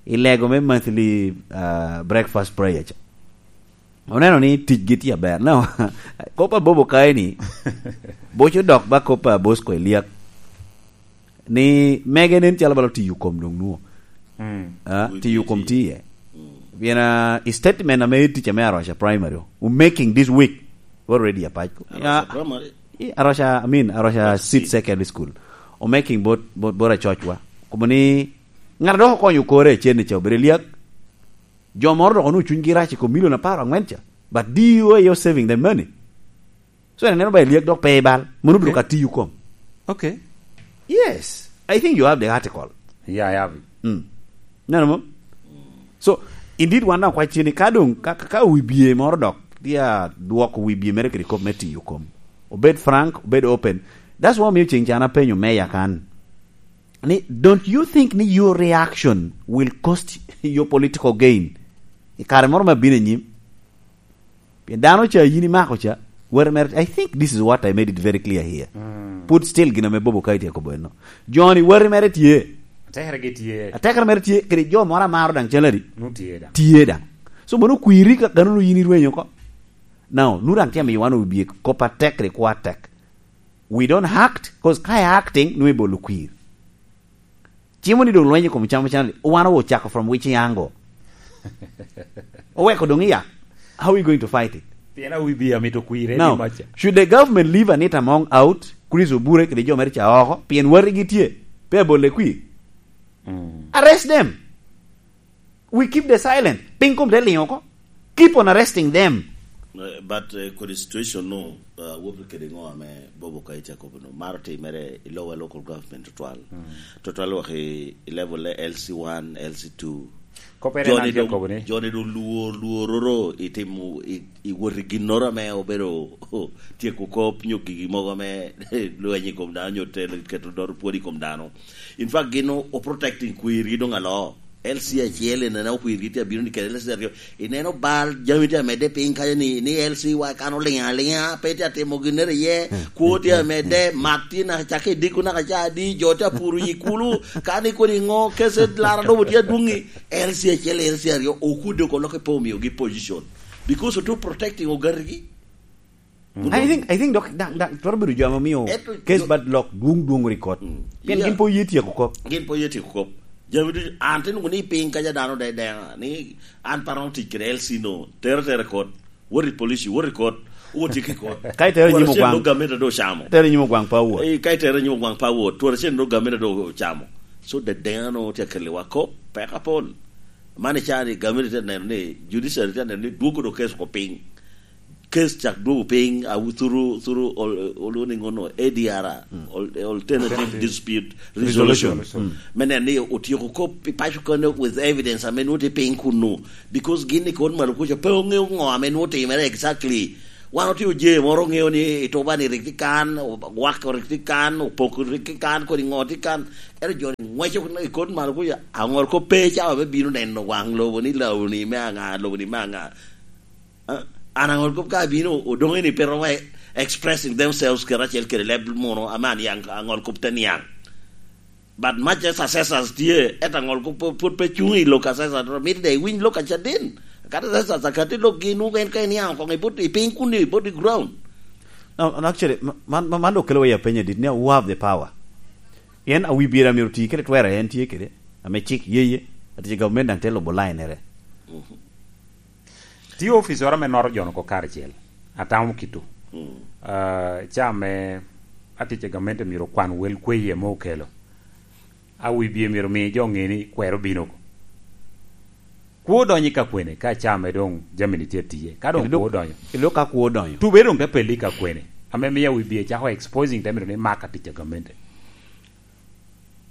i lego me monthly, uh, breakfast prayer ca. Oneno ni ticgi tye aber. No, kop a Bobo Kayi ni, boco dok ba kop a Bosco Eliak. Ni mege nen calo balo tiyo kom dong nuo. Ah, tiyo kom tiye. Pien, ah, i statement ame tic ame Aroca Primary, we making this week, already apac. Aroca Primary? I Aroca, I mean, Aroca Seed Secondary School. O making bot, bot, bot Acocwa. Kobo ni, ŋat a dok okonyo kore cen ni ca obedo Eliak. Jo moro dok onwoŋo cunygi rac i kom milion apar angwen ca. But D O A are saving the money. So, en aneno ba Eliak dok pe i bal. Mono obiro ka tiyo kom. Okay. Yes. I think you have the article. Yeah, I have it. Mm. Neno mo? So, indeed, wan daŋ kwacci ni ka doŋ, ka, ka, ka wibye moro dok, tye a dwoko wibye mere kede kop me tiyo kom. Obed frank, obed open. That's why omiyo ceng can apenyo meya kan. Ni, don't you think ni your reaction will cost your political gain? I kare moro ma bino anyim, pien dano ca yin imako ca, weri mere, I think this is what I made it very clear here. Put still gin ame Bobo Kayi tye kobo eno. Joni weri mere tye. Atekere gi tye. Atekere mere tye, kede jo moro amaro daŋ calo adi? Nu tye daŋ. Tye daŋ. So, mono kwiri ka kano nu yin irwenyo oko. Now, nu daŋ tye amiyo wan obye kop atek kede kwo atek. We don't act, 'cause ka i acting, nu ibolo kwir. Cimo ni doŋ lweny i kom camo can, wan ocako from which angle? Oweko doŋ iya. How are we going to fight it? Pien awi bi amito kwire. Now, should the government leave Anita Among out, Chris Obure kede jo mere ca oko, pien wati gi tye, pe abole kwir? Arrest them. We keep the silent. Piny kom te liŋo oko. Keep on arresting them. Eh, but, eh, kodi situation no, uh, wopri kede ŋo ame Bobo Kayi ca kobo no. Maro timere i lower local government tutwal. Tutwal wok i, i level le L C one, L C two. Kopere Joni nan doŋ, kobo ni. Joni doŋ lwor, lwor oro i timo, i, i wot i ginnoro ame obedo tyeko kop nyo gigi mogo ame lweny i kom dano nyo telo keto doro pwod i kom dano. In fact, gin o, o protecting kwirgi doŋ alo. L C acel i nene okwirgi tye abino ni kede L C aryo. I neno bal jami tye amedde piny kaca ni, ni L C wa kan oliŋ aliŋa, pe tye atimo ginnere iye, kwo tye amedde, mat tye naka cakke i diko naka ca adi, jo tye apuro i kulu, kan ikoni ŋo, kese lara lobo tye adwoŋi, L C acel, L C aryo, okudde oko lok ipe omiogi position. Because otu protecting ogatigi. I think, I think dok, dok, dok, twero bedo jo ame omio case bad lok dwong dwong record. Pien gin po ye tyeko kop. Gin po ye tyeko kop. Jami ducu, an te nwoŋo ni piny kaca dano de deŋa, ni an pe aromo tic kede L C no, tere tere kot, wot i police, wot i kot, wot i kot. Ka itere nyim ogwaŋ. Twara cen do gameta do chamo. Tere nyim ogwaŋ pa wot. Eh, ka itere nyim ogwaŋ pa wot, twara cen do gameta do chamo. So de deŋa no tye akeliwa kop, pek apol. Man i cani gameta tye neno ni, judiciary tye neno ni dwoko do case ko piny. Case cak dwogo piny, awu-, thuru, thuru ol-, oluwo ni ŋono A D R, ol-, Alternative Dispute Resolution. Me neno ni otyeko kop i paco kene with evidence ame nwoŋo tye piny kunu. Because gin i kot malo kuca pe oŋeo ŋo ame nwoŋo timere exactly. Wan otye oje moro oŋeo ni i Tuba ni rik tye kan, Wak rik tye kan, Opoko rik tye kan, kodi ŋo tye kan. Ento jo ni ŋweco i kot malo kuca, aŋol kop pe cawa me bino neno waŋ lobo ni lobo ni me aŋa, lobo ni me aŋa. Ah, an aŋol kop ka abino, odoŋe ni pe romo e-, expressing themselves kede acel kede leb munu, ame aniaŋ, aŋol kop te niaŋ. But much as assessors tye, et aŋol kop pwod, pwod pe cuŋ i lok assessors, mito de iwiny lok acaden. Kadi assessors akati lokgi, nwoŋo en ka iniaŋ okoŋ i bot, i piny kun i bot i ground. No, no, actually, ma-, man, man, man dok kelo wa i apeny adit, ni who have the power? Pien awi bira myero oti kede twere, en tye kede, ame cik ye ye, ati gavumenti daŋ te lubo lainere. Tye oficoro ame noto jo-nu oko karacel, atamo kito. Ah, ca ame atic i gamente myero okwan wel kweye ame okelo. A wi bie myero mi jo ŋe ni kwero bino oko. Kwo donyo i ka kwene, ka caa me doŋ jami-ni tye atiye. Ka doŋ Kendo kwo donyo. Kendo ka kwo donyo. Tube doŋ te pelle i ka kwene. Ame miyo a wi bie cako exposing te mito ni mak atic a gamente.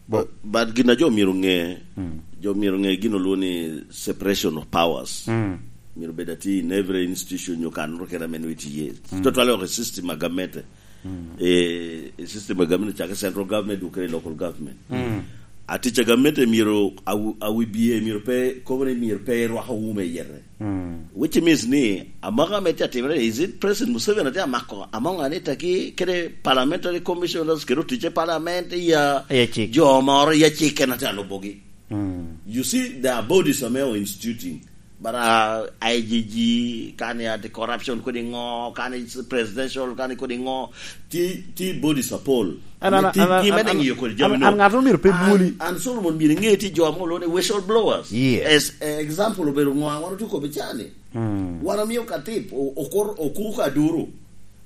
Bo- But, but gin a jo myero ŋe, Mm. jo myero ŋe gin olwo ni separation of powers. Mm. Myero bed ati in every institution nyo kan ro kena men witi ye. Mm. Totally ok system a gamente. Mm. E, e system a gamente chake central government duk kede local government. Mm. Atic a gamente myero awu-, a wi bie myero pe, kobo ni myero pe rwako wume yete. Mm. Which means ni, amaka me tye atimere, is it President Museveni atye amako, among anita ki, kede parliamentary commissioners, kede otice parliament, ya Aye cik. jo moro, ya cik en atye alubogi. Mm. You see, there are bodies ame are instituting. But, uh, I G G, kani anti-corruption kodi ŋo, kani presidential, kani kodi ŋo, ti, ti bodies apol. An, an, Ti, an, ti an, mede an, ng'iyo kodi an, jami no. an ng'ato myero pe An, bwoli. An Solomon myero ŋe ti jo ame olwoŋo ni whistleblowers. Yes. As, eh, example obedo ŋo, wan otye kome cani. Mm. Wan omiyo ka tip, o-, okor, okuko aduru.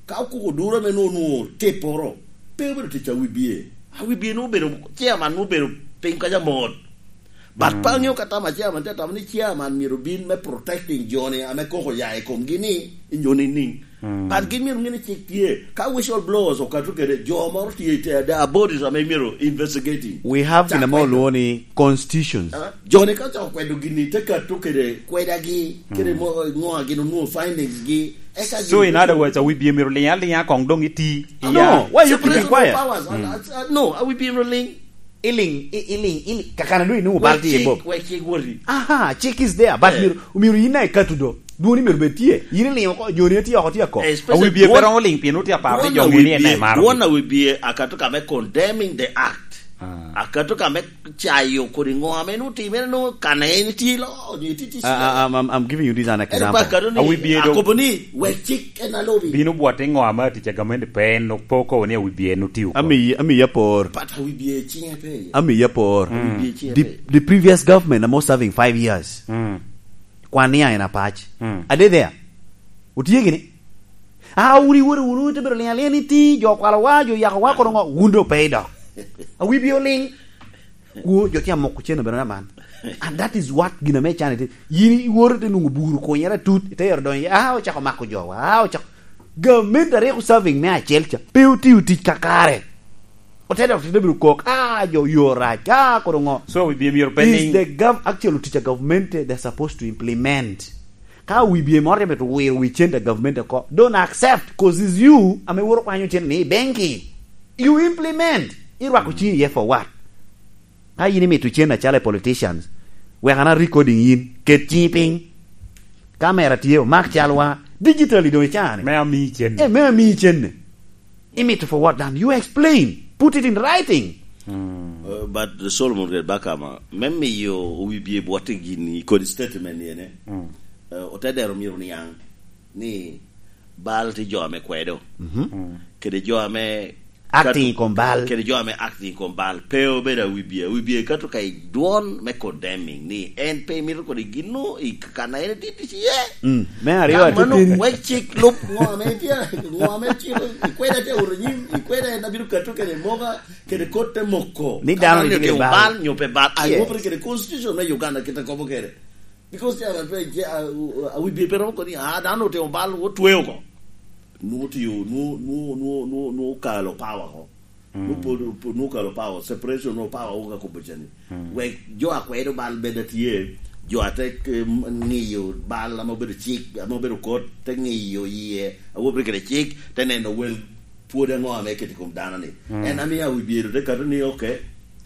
Ka okuko aduru ame nwoŋo, nwoŋo tipporo, pe obedo tic a wi bie. A wi bie nwoŋo obedo, chairman nwoŋo obedo piny kaca mot. But Mm. pe aŋeo ka tam a chairman, te tamo ni chairman myero bin me protecting jo-ni ame koko ya i komgi ni, i jo nining. Mm. But gin myero ŋe ni cik tye. Ka whistleblowers okato kede, jo moro tye i te, there are bodies ame myero investigating. We have Cak gin ame kwedo. olwoŋo ni constitutions. Ah, jo-ni ka cako kwedo gini, te kato kede kwedagi, kede Mm. mo-, ŋo a gin onwoŋo findings gi. Eka So gin in other words, a wi bie myero liŋ aliŋa koŋ doŋ iti. Ah, iya. no, why you keeping Separation of quiet? powers. Ah, Mm. ah, ah, no, a wi bie myero liŋ. Iliŋ, i-, iliŋ, iliŋ. Kakana do inwoŋo bal tye i Bob. Wek cik woti. Aha, cik is there, but Eh. myero, myero yin na ikato do. Dwoni myero bed tye. Yin iliŋ oko, joni tye oko, tye ako. Especially A wi bie pe dwon-, romo liŋ pien otye aparo ni dwon jo a ŋe ni wi en bie, aye maro. dwon a wi bie akato ka me condemning the act. Ah. Akato ka me cayo kodi ŋo ame nwoŋo timere, nwoŋo kan en tye lo, nyo tye tye I, I, I'm, I'm, I'm giving you this an Ento example. pa akato ni, A wi bie do- akobo ni, wek cik en alobi. Bino bwot i ŋo ame atic a gamente pe en, pe okobo ni a wi bie en otio oko. Ami, ami ya por. But a wi bie cinge pe iye. Ami ya por. Mm. A wi bie cinge The, pe. the previous government, I'm serving five years. Mm. Kwan ni en apac. Mm. Are they there? Otye gini? Ah, wun iwoto wunu, ite bedo liŋ aliŋa ni ti, jo okwalowa, jo oyakowa, kono ŋo, wun doŋ pe idok. A wi bie oliŋ. Kwo, jo tye amoko cen obedo aman. And that is what gin ame can ite. Yin iwoto ite nwoŋo buru kunyere atut, ite yero donyo, ah, ocako mako jowa, ah, ocako. Gamente a rik serving me acel ca, pe otio tic kakare. Ote dok te bedo kok, ah, jo yo rac, ah, kono ŋo. So, wi bie myero pe Is niŋ. the gov-, actually, tic a government, eh, they're supposed to implement. Ka wi bie moro tye mito wiro wi cente a government oko, don't accept, 'cause it's you ame woro kwanyo cente ni i benki. You implement. Irwako ciŋi iye for what? Ka yin imito cen acalo i politicians, wek an a recording yin, ket ciŋi piny. Kamera tye, omak calwa, digitally doŋ i caa-ni. Me amii cen. Eh, me amii cen-ni. Imito for what then? You explain. Put it in writing. Uh, but Solomon kede Bakama, me miyo wi bie bwotte gini kodi statement ni ene, Mm. uh, ote dero myero niaŋ ni bal tye jo ame kwedo. Mhm. Mm. Kede jo ame Acting i kom bal. Kede jo ame acting i kom bal. Pe obedo a wi bie. A wi bie kato ka i dwon me condemning ni en pe imito kodi gino i kan a en tye tic iye. Mm. Me aryo Ka mano, atitin. wek cik lub ŋo ame tye, ŋo ame cik, ikweda tye oro nyim, ikweda en abino kato kede moka, kede kot te moko. Ni dano Ka ni tye kede otimo bal. bal, nyo pe bal. Yes. Aywobere kede constitution me Uganda kite kobo kede. Because chairman pe, a, a, a wi bie pe romo koni, ah, dano otimo bal, otweo oko. Nwoŋo tio, nwoŋo, nwoŋo, nwoŋo, nwoŋo, nwoŋo kalo power ko. Mm. Nwoŋo pod, pod, nwoŋo kalo power, separation of power, woka kobo cani. Mm. Wek jo a kwedo bal bed atye, jo a te, em, ŋiyo bal ame obedo cik, ame obedo kot, te ŋiyo iye, awobe kede cik, te neno wel pwod aŋo ame eketo i kom dano ni. Mm. En amiyo a wi bie te kato ni, ok,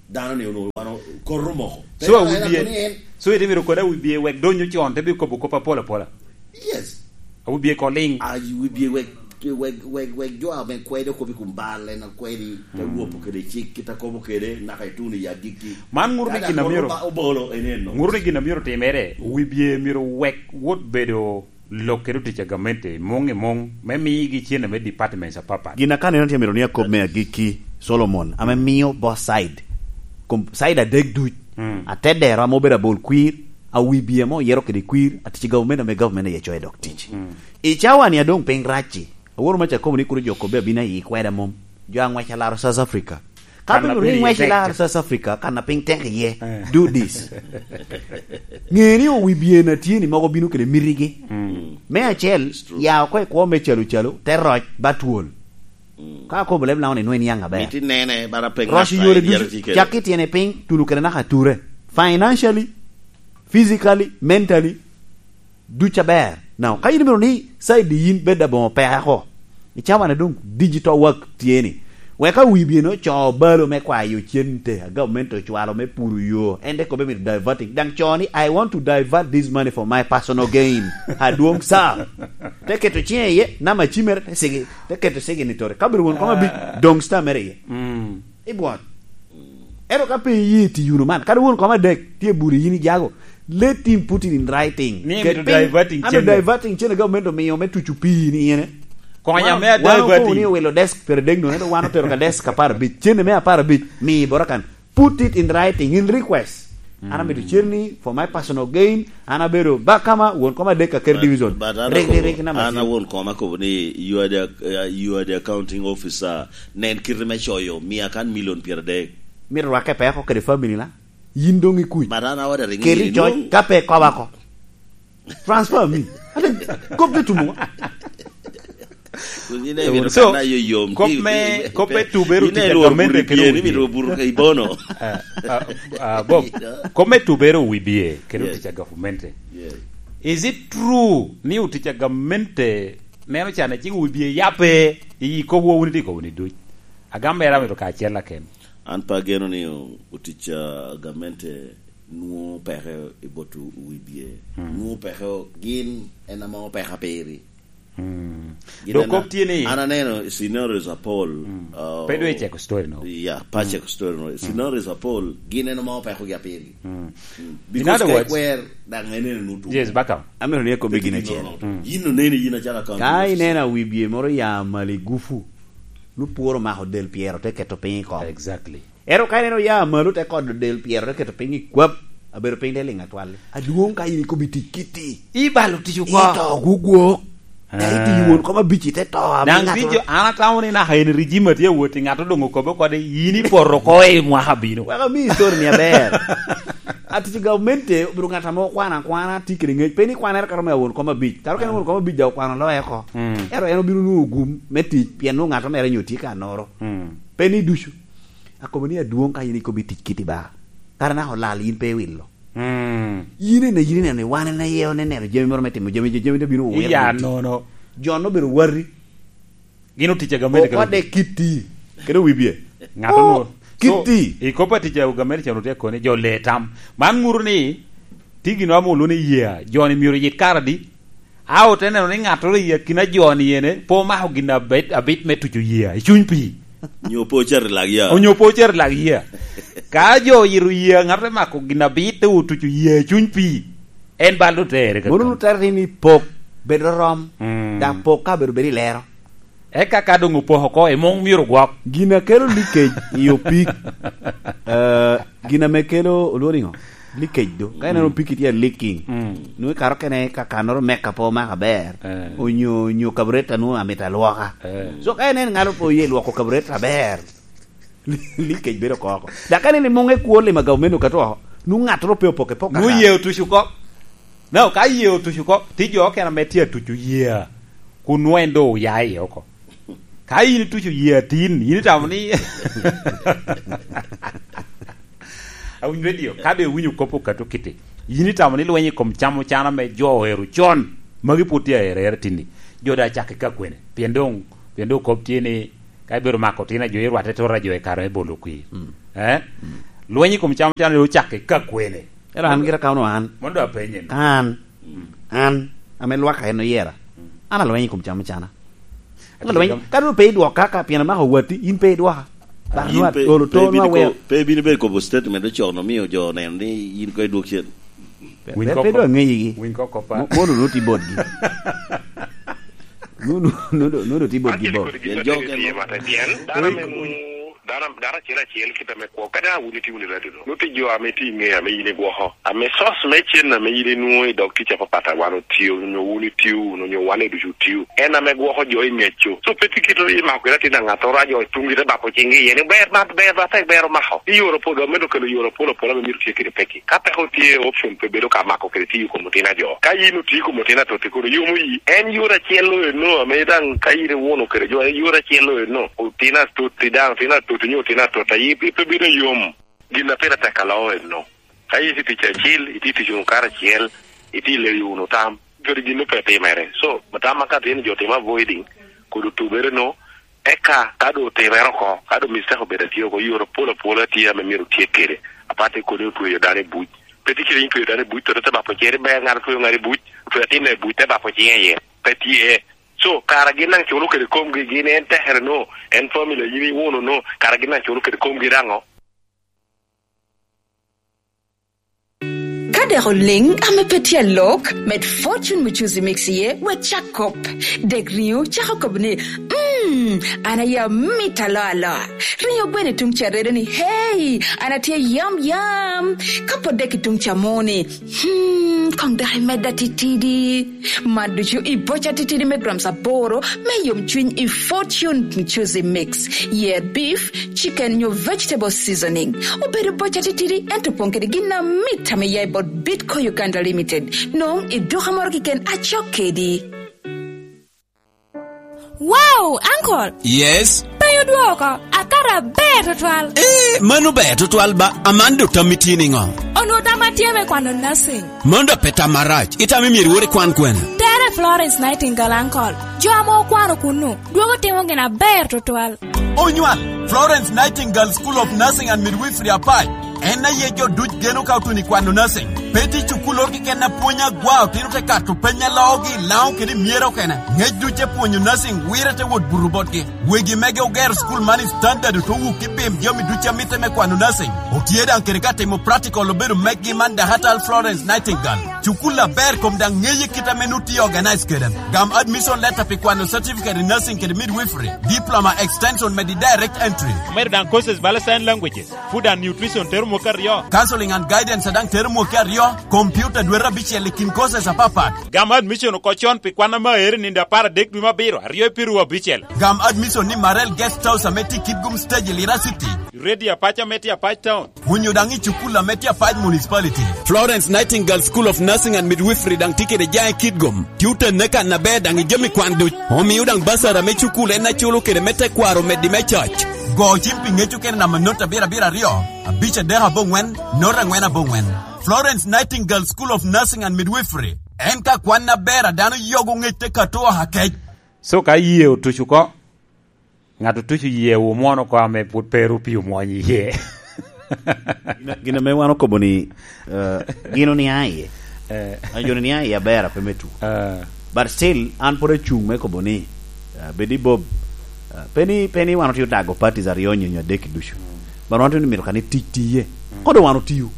dano ni onwoŋo wan o-, kor omoko. So, a wi bie, so, ite mito kodi a wi bie wek donyo con, te bi kobo kop apol apola. Yes. A wi bie ko liŋ. A wi bie wek, wek, wek, wek jo ame kwedo kop i kom bal, en akwedi, te Mm. wopo kede cik, kit akobo kede, naka ituno i agikki. Man ŋuto ni Dada gin a kor myero, oba-, obolo, en eno. ŋuto ni gin a myero timere, wi bie myero wek wot bedo lok kede otic a gamente, muŋ i muŋ, me migi cene me departments apapat. Gin a ka neno tye mito ni akob me agikki, Solomon, ame miyo both side, kom-, side adek duc, Mm. atedero ame obedo abol kwir, a wi bie ame oyero kede kwir, atic i gavumenti ame gavumenti aye coyo dok tic. Mm. I cawa-ni a doŋ piny rac-ci, aworo maca akobo ni kuro jo kobbe abino ayi kweda mom. Jo aŋwec alaro South Africa. Ka bino ni ngwec i lar South Africa, kan a piny tek iye, eh, do this. Ng'e ni owi byen a tye ni mogo bino kede mitigi. Mm. Me acel, it's true, ya oko i kwo me calo calo, te roc, ba twol. Mm. Ka akobo leb Lango ni nwoŋo iniaŋ aber. Miti nene, bara pe roc ŋat i yore ducu, cak ki tyene piny, tuno kede naka ature. Financially, physically, mentally, duc aber. Now, ka yin imito ni side yin bed aboŋo peke oko, i cawa na doŋ digital work tye ni, wek awi byen ocoo balo me kwayo cente, a government ocwalo me puro yo, en te kobbe mito diverting. Daŋ coo ni, "I want to divert this money for my personal gain." Adwoŋ sa. Te keto ciŋe iye, nama cimere, te sigi, te keto sigi ni tore. Ka obedo won koma bi, ah, doŋ star mere iye. Mm. Ibwot. Ento ka pe iye ti yuno man, kadi won koma dek, tye buri yin ijago. Let him put it in writing. Ni ket emito piny, diverting ano cene. Diverting cene government omiyo me tucu pii ni ene. Konya me wan okobo diverting. Ni owilo desk pere dek nono, ento wan otero ka desk apar abic. Cene me apar abic, mi boro kan. Put it in writing, in request. An amito cene ni for my personal gain, an abedo ba kama, won koma dek ka ker division. But, but an rik, rik, akobo, rik, nama an cen. Awon koma akobo ni, "You are the, uh, you are the accounting officer. Nen kite me coyo, mia kan million pyeradek." Mito rwakke peko kede family na. Yin doŋ ikuc. But an awada ringo. Keri coc, ka pe koba ko. Transfer me. Ate, kop te tumo. Kun yin emito so, kana yo yom. Kop me, kop me tubero yin tic a gamente kede buru bie, wi bie. Imito buru ka ibono. Ah, ah, ah, Bob, kop me tubero wi bie kede, yes, tic a gamente. Yes. Is it true ni otic a gamente neno can eciko wi bie yape i kop wo wun itye kobo ni duc? Agam mere amito ka acel aken. An pe ageno ni o-, otic a gamente nwoŋo peke i bot wi bie. Mm. Nwoŋo peke o-, gin en ame opeka piri. Mm. Gin dok en kop a-, tye ni an aneno scenarios apol, mm, uh, pe dwe iceko story no. Yeah, pe aceko story no. Mm. Scenarios apol, gin en ame opekogi apirgi. Mm. Mm. In other words, because ka ikwer, daŋ en en otumo. Yes, back up. Amito ni akobi gin acel. Mm. Yin oneni yin acalo account officer. Ka ineno wi bie moro ya malo i gufu, nwoŋo pworo omako del pyero te keto piny i kom. Exactly. Ento ka ineno ya malo te kodo del pyero te keto piny i kwap, abedo piny te liŋ atwal. Adwoŋ ka in ikobo i tic kiti. Ibalo tic oko. Ito gugwok. Ah. Ka itiyo won koma bici te to. Daŋ bijo, an atamo ni naka en regime atye awot i ŋat odoŋo kobo kode, yin ipoto oko i mwaka bino. Wek ami story ni aber. Atic i gavumenti obiro ŋat ame okwano akwana, tye kede ŋec. Pe ni kwanere kato me awon koma bic. Kato kene won koma bic daŋ okwano loye oko. Mm. Ento en obino nwoŋo gum me tic, pien nwoŋo ŋat mere nyo tye ka noro. Mm. Pe ni ducu. Akobo ni adwoŋ ka in ikobo i tic kiti ba. Kara naka olal yin pe iwilo. Mm. Yin ene, yin ineno ni wan en aye oneno jami moro me timo jami, jami te bino owero. Iya nono. Jon obedo wati. Gin otic a gamente kede okwade kiti. Kede wi bie. Ŋat onwoŋo. Oh, kiti. So, i kop atic a gamente can otye koni, jo le tam. Man ŋuto ni, ti gin amo olwoŋo ni yea, jo-ni myero oyit kare adi? A ote neno ni ŋattoro i akina jo-ni ene pe omako gin abit, abit me tuco yea i cuny pii. Onyo pe ocito i lak yea. Onyo pe ocito i lak yea. Ka jo oyito yea, ŋattoro te mako gin abit te otuco yea i cuny pii. En bal otere kaka. Mono otere ni pok, bed rorom, mm, daŋ pok ka bedo, bedo i lero. Eka ka doŋ opoko oko, emoŋ myero ogwok. Gin a kelo leakage i opik, eh, gin ame kelo olworo niŋo? Leakage do. Ka ineno, mm, opiki tye leaking. Mm. Nwoŋo ikato kene ka kannoro meka pe omako aber. Eh. Onyo, onyo carburetor nwoŋo amito alwoka. Eh. So ka ineno ŋat pe oye lwoko carburetor aber, leakage bedo oko oko. Dok ka ineno i muŋe kwo lima gavumenti okato oko, nwoŋo ŋattoro pe opoke poka. Nwoŋo yee otuc oko. Now, ka yee otuc oko, ti jo okene ame tye atuco yee, kun nwoŋo en doŋ oya iye oko. Ka yin ituco yee atin, yin itamo ni Awinyo redio, ka doŋ iwinyo kop okato kite, yin itamo ni lweny i kom cam ocana ame jo ohero con, magi pwod tye aerere tinni. Jo daŋ acakke ka kwene? Pien doŋ, pien doŋ kop tye ni, ka ibedo mako tin a jo, irwatte tora jo i kare me bolo kwir. Mm. Eh? Mm. Lweny i kom cam ocana doŋ ocakke ka kwene? Ero an gira ka ono an. Mondo apenye ni. Ka an, mm, an, ame lwaka en oyera, mm, an alweny i kom cam ocana. An alweny, ka doŋ pe idwoka ka, pien amako watti, in pe idwoka. But yin pe, olo pe to ibino nwa weo ko-, pe ibino bedo kobo statement ocok no, miyo jo oneno ni yin ko idwok cen. Pe, winy pe, koko. Pe dwa ŋeyigi. Winy koko pa. Mo-, mono nwoŋo tye botgi. Nwoŋo, nwoŋo, nwoŋo tye botgi bot. Pien jo okene. Pien dano me munu Dano, dano acel acel kit ame kwo. Kadi a wun itye wunu i radio-nu, nut i jo ame tye i ŋe ame yin igwoko. Ame source me cen ame yin inwoŋo i dog tic apapat a wan otio, onyo wun itio wunu, onyo wan ducu otio. En ame gwoko jo i ŋeccu. So, pe tye kit i mako kede atin a ŋattoro, a jo tuŋgi te bako ciŋgi iye ni, "Ber, man ber, ba tek ber omako." I yore opol, dok medo kelo yore apol apol ame myero tye kede pekki. Ka peko tye, option pe bedo ka mako kede tiyo i kom otino a jo. Ka yin otio i kom otino atotti, kono yomo yi. En yore acel-lo eno, ame daŋ ka yin iwuno kede jo, en yore acel-lo eno. Otino atotti daŋ, otino atotti nyo otino atotta, yi pe, pe bedo yom. Gin a pire tek aloo eno. Ka itye i tic acil, itye i tic wunu karacel, itye i leyo wunu tam, kadi gin pe timere. So, tam ma ka tye ni jo timo avoiding, kodi otubere no, eka ka doŋ otimere oko, ka doŋ mistake obedo atye oko, yore apol apola tye ame myero tye kede. Aparte kodi otweyo dano i buc. Pe tye kede yin tweyo dano i buc, to te bako cer, ber ŋat otweyo ŋat i buc, otweyo atin i buc, te bako cinge iye. Pe tye. So, kara gin daŋ culo kede komgi, gin en tekere no, en family, yin iwuno no, kara gin daŋ culo kede komgi daŋo? Ka dek oliŋ ame pe tye alok, med Fortune Muchuzi Mix iye, wek cak kop. Dek riŋo cako kobo ni, "Mm, an aye amit aloa aloa." Riŋo gweno i tuŋ ca redo ni, "Hey, an atye yam yam." Ka pot dek i tuŋ ca mo ni, "Hmm, koŋ dok imedda titidi." Man ducu i boca titidi me grams aboro me yomcwiny i Fortune Muchuzi Mix. Yer beef, chicken nyo vegetable seasoning. Obedo boca titidi, ento opoŋ kede gin amit ame ya i bot Bitco Uganda Limited. Nong i duka moro keken acok kedi. Wow, uncle! Yes? Penyo dwoko, akato aber tutwal. Eh, mano ber tutwal ba, aman do tammi tye niŋo? Onwo tamma tye me kwano nursing. Mano dok pe tam marac. Itamo myero iwor ikwan kwene? Tere Florence Nightingale, uncle. Jo ame okwano kunnu, dwogo timo gin aber tutwal. Onywal, Florence Nightingale School of Nursing and Midwifery Apac. En aye jo duc geno ka otuno i kwano nursing. Pe tye cukulloro keken a pwony agwa, otino te kato peny a loogi i Laŋo kede i Myero okene. Ngec duc te pwonyo nursing wire te wot buto botgi. Wegi mege ogero cukul man i standard, ote wuk i pim jami ducu a mitte me kwano nursing. Otye daŋ kede ka timo practical obedo megi man Dahatal Florence Nightingale. Cukul aber kom daŋ ŋeye kit ame nut tye organize kede. Gam admission letter pi kwano certificate in nursing kede midwifery, diploma extension medi direct entry. Omedo daŋ courses bala sign languages, food and nutrition tero mwaka aryo. Counseling and guidance daŋ tero mwaka aryo, computer dwete abicel i kin courses apapat. Gam admission oko con pi kwan ame aero i nino apar adek dwe me abiro, aryo i piru abicel. Gam admission ni Marel Guest House ame tye i Kitgum Stage i Lira City. Radio Apac ame tye Apac Town. Onyo daŋ i cukul ame tye Apac Municipality. Florence Nightingale School of Nursing and Midwifery daŋ tye kede jaŋ i Kitgum. Tye otenne kan aber daŋ i jami kwan duc. Omio daŋ basara me cukul en aculo kede me tekwaro omeddi me coc. Go cim pi ŋec okene namba not abiro abiro aryo, abic adek aboŋwen, not angwen aboŋwen. Florence Nightingale School of Nursing and Midwifery. En ka kwan aber a dano yogo ŋec te kato oha kec. So ka yie otuc oko, ŋat otuco yie wu mwono oko ame pwod pe ru pi omwony iye. Gin, gin ame wan okobo ni, eh, gin oniaŋ iye. Eh. An jo ni niaŋ iye aber ape me tu. Eh. But still, an pwod acuŋ me kobo ni, eh, bed i Bob, eh, pe ni, pe ni wan otye odago parties aryo onyo, onyo adek ducu. Mm. But wan otye ni mito ka ni tic tiye. Mm. Kodo wan otiyo.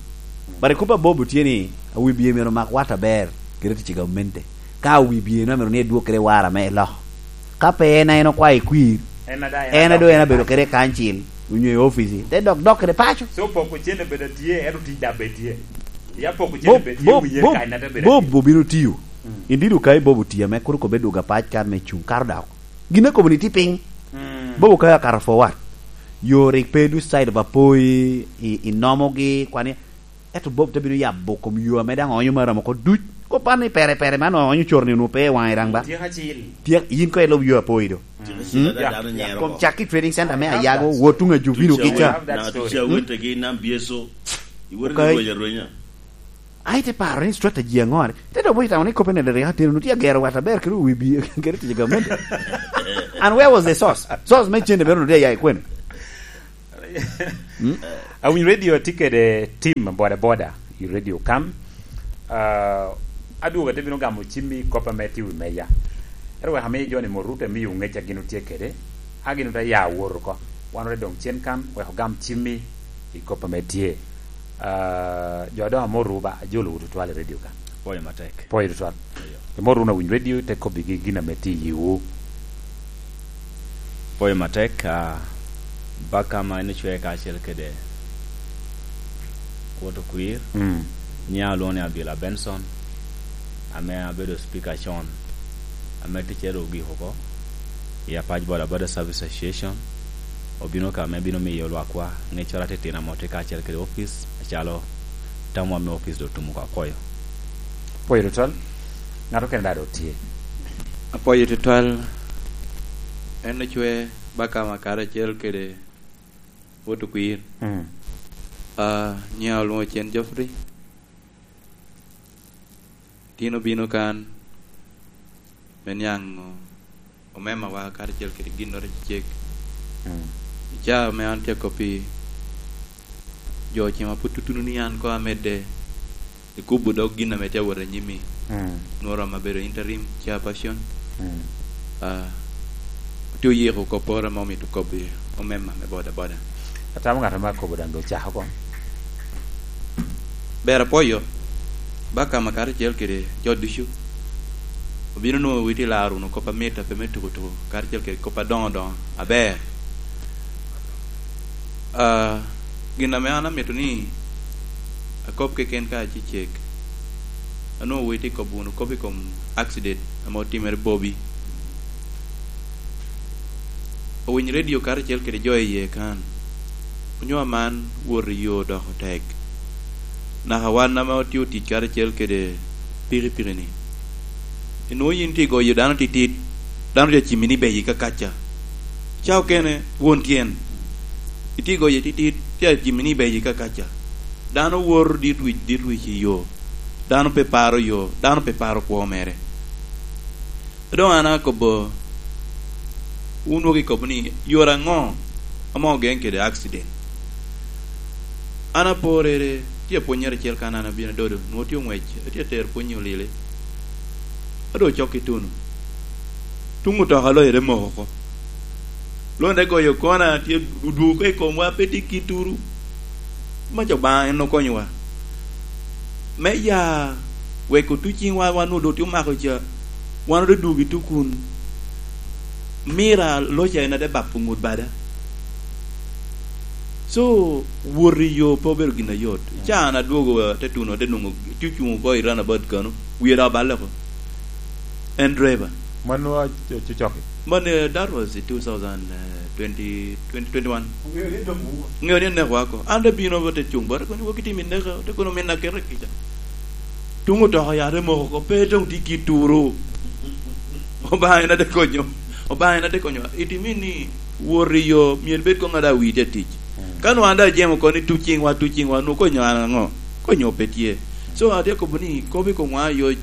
But i kop a Bob otye ni, awi bie myero omak wat aber, kede tic i gamente. Ka awi bie no myero ni edwog kede wara me eloko. Ka pe en a en okwayo i kwir, en a da, en a en a doŋ en abedo kede kancil, onyo i ofici, te dok dok kede paco. So poko cen obedo tye, ento tic dok bed tye. Ya poko cen Bob, obedo tye, Bob, wiye Bob, kany na te bedo Bob tye. Obino tiyo. Mm. Indidi okayi Bob otiyo ame kuro kobbe dwogo apac kan me cuŋ, kato dok. Gin akobo ni tye piny. Mm. Bob okayi akato forward. Yo rik pe duc side of apoi, i, i nomogi, kwani, Ento Bob te bino yabo kom yo ame daŋ oonyo Maram oko duc. Kop an ni pere pere man oonyo coro ni onwo pe i waŋe daŋ ba. Tyeko acil. Tyek, yin ko ilub yo apoyi do. Tyeko acil ada dano nyero oko. Kom cak ki trading center me Ayago, wot tuŋ Ajubino kica. Love that story. Tuca wetegi nam byeso. Iwere ni rweny arwenya. Ai te paro ni strategy aŋo ni. Te do boy tamo ni kope ne dere atino, nu tye agero wat aber kede wi bi, kede tic i gamente. And where was the source? Source me cende bero nu tye ya i kwene. Mm. Awinyo radio atye kede team boda boda i radio kan. Ah, adwogo ate bino gamo cimmi kop ame tye wi meja. Ero wek amiyo joni mot rute miyo ŋec a gin otye kede, a gin ote ya wot oko. Wan ote doŋ cen kan, wek ogam cimmi i kop ame tye. Ah, jo adoŋo amoto ba, ajolo wu tutwal i radio kan. Pwoyo matek. Pwoyo tutwal. Eyo. Imoto wunu awiny radio, te kobbigi gin ame tye i yiwu. Pwoyo matek, ah, Baka ma en ocwe kacel kede Wot Okwir, Mm. nyiŋa olwoŋo ni Abila Benson, ame abedo speaker con, ame ticcere ogik oko i Apac Boda Boda Service Association. Obino ka me bino miyo lwakwa ŋeccoro atitino ame otye kacel kede opic, acalo tamwa me opic doŋ otum oko. Apwoyo. Apwoyo tutwal. Ŋat okene daŋ doŋ tye. Apwoyo tutwal. En ocwe Baka ma karacel kede Wot Okwir. Mm. Ah, nyiŋa olwoŋo Cen Geoffrey. Tin obino kan me niaŋ omemawa karacel kede ginnoro acecek. Mm. I caa ame an tye akop i jo ocima pwod tutuno ni an koŋ amedde i kubo dog gin ame tye awot anyim-mi. Mm. Nwoŋo rom abedo interim chairperson. Mm. Ah, otye oyiko kopporo ame omito kobbi omemma me boda boda. Atamo ŋat ame akobo daŋ doŋ ocako oko. Ber apwoyo, Baka ma karacel kede jo ducu. Obino nwoŋo witi laro wunu kop amit a pe me tuko tuko, karacel kede kop adoŋo doŋo aber. Ah, gin ame an amito ni akob keken ka acecek, anwoŋo witi kobo wunu kop i kom accident ame otimere Bobi. Owiny redio karacel kede jo iye kan, onyo aman wot i yo doko tek. Naka wan ame otio tic karacel kede pikipiki-ni, inwoŋo yin tye igoyo dano titit, dano tye acimmi ni beyi kakaca. Ca okene, won tyen, itye igoyo titit, tye acimmi ni beyi kakaca. Dano woto dit wic, dit wic i yo. Dano pe paro yo, dano pe paro kwo mere. Doŋ an akobo, wun dwoko ikobo ni, "Yore aŋo ame ogeŋ kede accident?" An aporere, tye apwonnyere acel kan an abino adodo, nwoŋo tye oŋwec, atye atero pwony i olile. A doŋ ocok i tuno. Tuŋ otoka loyo te moko oko. Londe goyo kona, tye odwogo i komwa, pe tye kit turu. Mac Obaŋa en okonyowa. Me ya weko tuc ciŋwa, wan onwoŋo doŋ tye omako ca, wan ote dwogo i tukun. Mira loca en ate bapo ŋut bada. So, wot i yo pe obedo gin ayot. Mm. Ca an adwogo, eh, te tuno, te nwoŋo tye ocuŋ oko i runabout kano, wiye daŋ oballe oko. En driver. Mano a-, a-, cocoki? Mano, eh, that was two thousand, eh, twenty, twenty twenty-one. Ŋeo ni en neko wako. An te bino, te cuŋ bote, kono wok itimo i neko, te kono min akete kica. Tuŋ otoka ya te moko oko, pe doŋ tye kit turu. Obaŋa en ate konyo. Obaŋa en ate konyo. It mean ni wot i yo, myero bed koŋ ada wi tye tic. Mm. Ka nwoŋo an daŋ ajemo oko ni tuc ciŋwa, tuc ciŋwa, nwoŋo konyo an aŋo? Konyo pe tye. So, atye akobo ni, kop i komwa ayoc,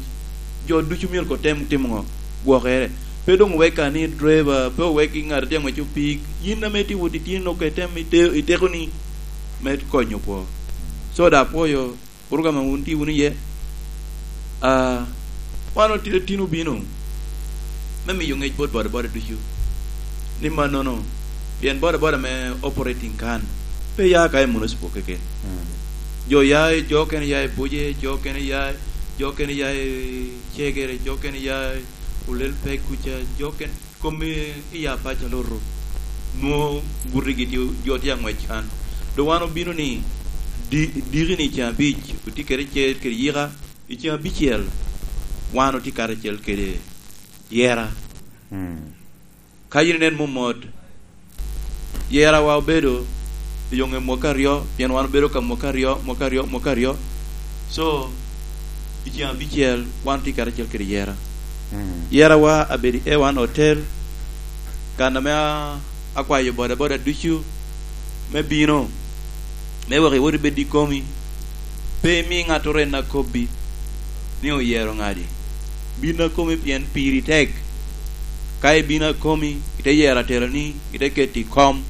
jo ducu myero kotem timo ŋo? Gwokere. Pe doŋ owek ka ni driver, pe owek i ŋat a tye aŋweco pik. Yin ame tye wot itino, nwoŋo item ite-, i tekoni me konyo kwo. So, daŋ apwoyo program a wun tye wunu iye. Ah, wan otye tin obino me miyo ŋec bot bodaboda ducu ni mannono, pien bodaboda me operating kan pe ya ka i municipal keken. Mm. Jo ya i, jo okene ya i Buje, jo okene ya, jo okene ya i Cegere, jo okene ya i Olel Pek kuca, jo okene kom i, i Apac Aloto, nwoŋo gutigi tye, jo tye aŋwec kan. Doŋ wan obino ni, di-, diki ni i ceŋ abic, otye kede cer kede yika, i ceŋ abicel, wan otye karacel kede yera. Mm. Ka yin inen mot mot, yerawa obedo i yo ŋe mwaka aryo, pien wan obedo ka mwaka aryo, mwaka aryo, mwaka aryo. So, i ceŋ abicel, wan tye karacel kede yera. Mm. Yerawa abedo i A one Hotel, kan ame a-, akwayo bodaboda ducu me bino, me wek iwot ibed i komi. Pe imi ŋattoro en akobbi ni oyero ŋadi. Bin a komi pien piri tek. Ka ibino a komi, ite yero ateloni, ite keto i kom,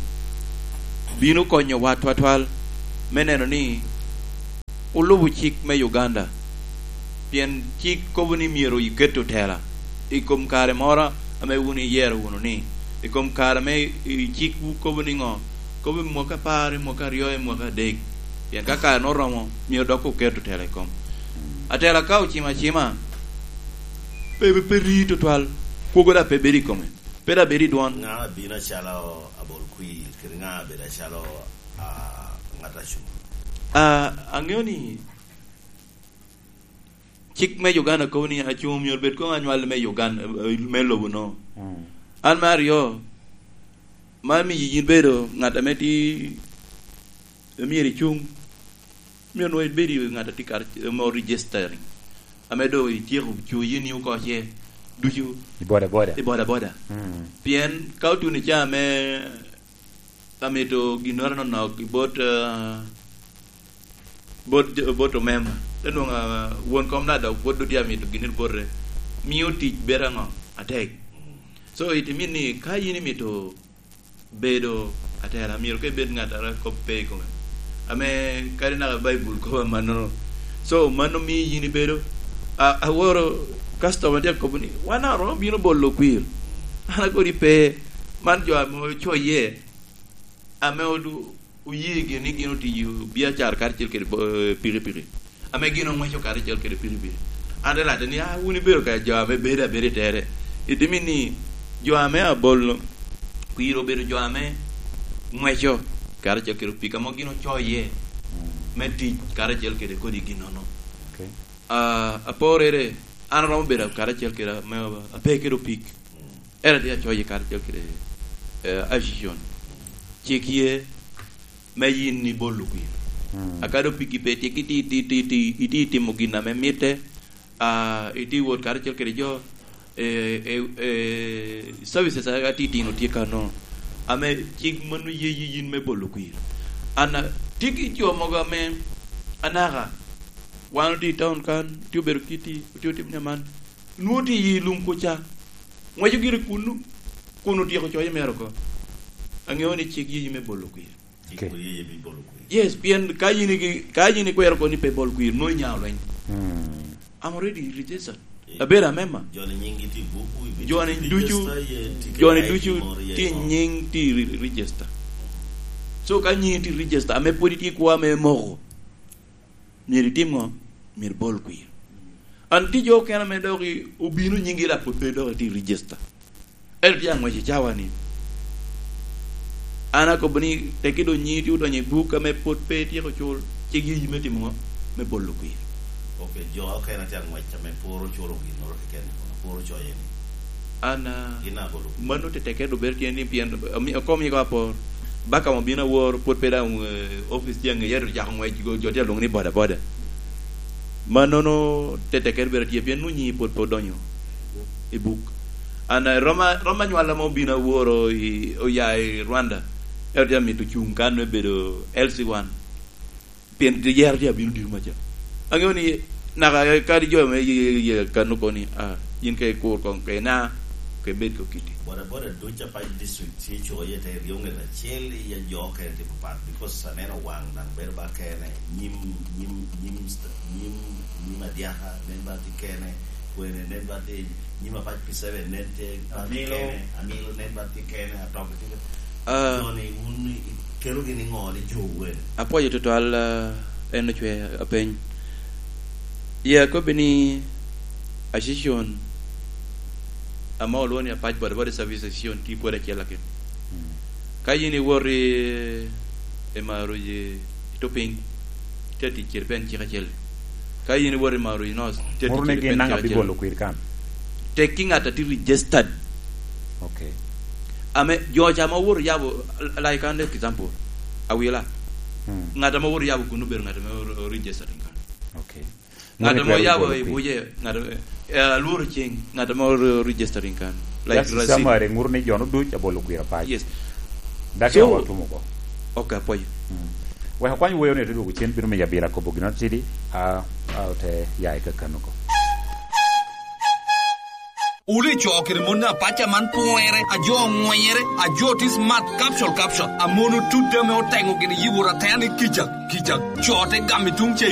bino konyowa twatwal me neno ni olubo cik me Uganda. Pien cik kobo ni myero iket otela i kom kare moro ame wun iyero wunu ni, i kom kare ame i cikwu kobo ni ŋo? Kobo i mwaka apar, i mwaka aryo, i mwaka adek. Pien ka kare-nu oromo, myero dok oket otela i kom. Atela ka ocimo acima, pe, pe, pe ri tutwal, kwogo daŋ pe bedo i kome. Pe dok bedo i dwon. Ŋa abino acalo abol kwir, kede ŋa abedo acalo, ah, ŋat acuŋ? Ah, aŋeo ni cik me Uganda kobo ni acuŋ myero bed koŋ anywal me Uganda, eh, me lobo no. Mm. An me aryo, man miyo yin bedo ŋat ame ti, myero icuŋ. Myero nwoŋo ibed i ŋat a tye kar-, ame registering, ame doŋ ityeko coyi ni oko ce ducu. I boda boda. I boda boda. Mm. Pien ka otuno i caa ame amito ginnoro anonok i bot, ah, bot, bot omemba, te nwoŋo, ah, won kom na dok pwod dutye amito ginnoro bote, mio tic bedo aŋo? Atek. So, it mean ni ka yin imito bedo atela, myero ka ibed ŋat a kop pe i kome. Ame kadi naka Baibul kobo amannono. So, mano mio yin ibedo, a-, aworo customer tye akobo ni, "Wan daŋ oromo bino bolo kwir." An akodi pe, man jo ame ocoye, ame odu-, oye gin ni gin otiyo biacara karacel kede bo-, pikipiki. Ame gin oŋweco karacel kede pikipiki. An te lacce ni, "Ah, wun ibedo ka jo ame bedo abeda i tere." Itimo ni jo ame abolo kwir obedo jo ame ŋweco karacel kede opik ame gin ocoye me tic karacel kede kodi ginnono. Okay. Ah, aporere, an aromo bedo karacel kede ame ape kede opik. En atye acoyo karacel kede, eh, association. Cik ye me yin ibolo kwir. Mm. Akadi opiki pe tye, iti, iti, iti, iti, iti timo gin ame mitte, ah, iti wot karacel kede jo, eh, eh, eh, services a, atitino tye kano, ame cik mano ye, ye yin me bolo kwir. An a, tye ki jo mogo ame anaka, wan otye i town kan, otye obedo kiti, otye otimo ne man. Nwoŋo tye i lum kuca. Ŋweco gire kunnu, kun otyeko coye mere oko. Aŋeo ni cik yeyi me bolo kwir. Cik, okay, yeyi me bolo kwir. Yes, pien ka yin igi-, ka yin ikwero oko ni pe bol kwir, nwoŋo inyao lweny. Hmm. I'm already registered. Eh, abedo amemba. Joni nyinggi tye i buk, ibi-, joni ducu, register ye ticket, joni I D ducu moro ye tye i ŋo? Nying tye i re-, register. So ka nyingi tye i register, ame pwod itye i kwo ame moko, myero itim ŋo? Myero ibol kwir. An tye jo okene ame dok i-, obino nyinggi dok pwod pe dok itye i register. Ento tye aŋwec i cawa ni. An akobo ni tekki doŋ nyingi tye odonyo i buk ame pwod pe ityeko cul, cik yeyi me timo ŋo? Me bolo kwir. Ok, jo okene tye aŋwec ame pwod oculo ginnoro keken, pwod ocoye ni. An, ah, gin abolo kwir. Mano tetekke doŋ bedo tye ni pien, ami-, okomi ko apor. Baka obino awor, pwod pe daŋ, eh, opic tye aŋeye, ento ocako ŋwec, jo, jo tye alwoŋo ni boda boda. Mannono tetekkere bedo tye, pien nwoŋo nyingi pwod pe odonyo i buk. An, eh, roma, roma nywal ame obino aworo i, oya i Rwanda, ento tye amito cuŋ kan me bedo L C one. Pien yero tye abino dito maca. Aŋeo ni naka kadi jo me ye, ye, ye kano kono ni, "Ah, yin ka ikur koŋ ke na, ke bed ko kiti." Boda boda duc apac district tye co iye te ryo ŋet acel, iya jo okene tye papat, because aneno waŋ daŋ bedo ba kene, nyim, nyim, nyim st-, nyim, nyim adyaka nen ba tye kene, kwene nen ba tye, nyim apac P seven nen tye ba tye Amilo. Kene, Amilo nen ba tye kene, Atok tye kene. Ah. Joni wun ikelogi ni ŋo ni jo wen? Apwoyo tutwal, ah, en ocwe apeny. Ye akobbi ni association ame olwoŋo ni Apac Boda Boda Service Association tye pwod acel akin. Mm. Ka yin iwot i, i Maroc i, i Topiny, tye tic kede pen cik acel. Ka yin iwot i Maroc North, tye tic kede pen cik acel. Moro ni gin naŋ abibolo kwir kan? Tekki ŋat a tye registered. Okay. Ame jo ca ma owoto yabo, like an example, Awila. Hmm. Ŋat ame owoto yabo kun obedo ŋat ame o-, o-, registered in kan. Okay. Ŋat ame oyabo i Buje, ŋat ame, eh, alworo ceng, ŋat ame o-, o-, registered in kan. Like Justice Razin. Summary, ŋuto ni jo-nu duc abolo kwir apac. Yes. Daki so, awa tumo ko. Okay, apwoyo. Hmm. Wek akwany woyo ni te dwogo cen bino miyo abila kobo gin atidi, a, a, ote ya i kakano ko. Wun ico kede mon apac a man pwere, a jo oŋwenyere, a jo tye smart, capsule, capsule, a mon otut ame oteŋo gin i yibo ratena ni kica, kica. Co te gamo i tuŋ cei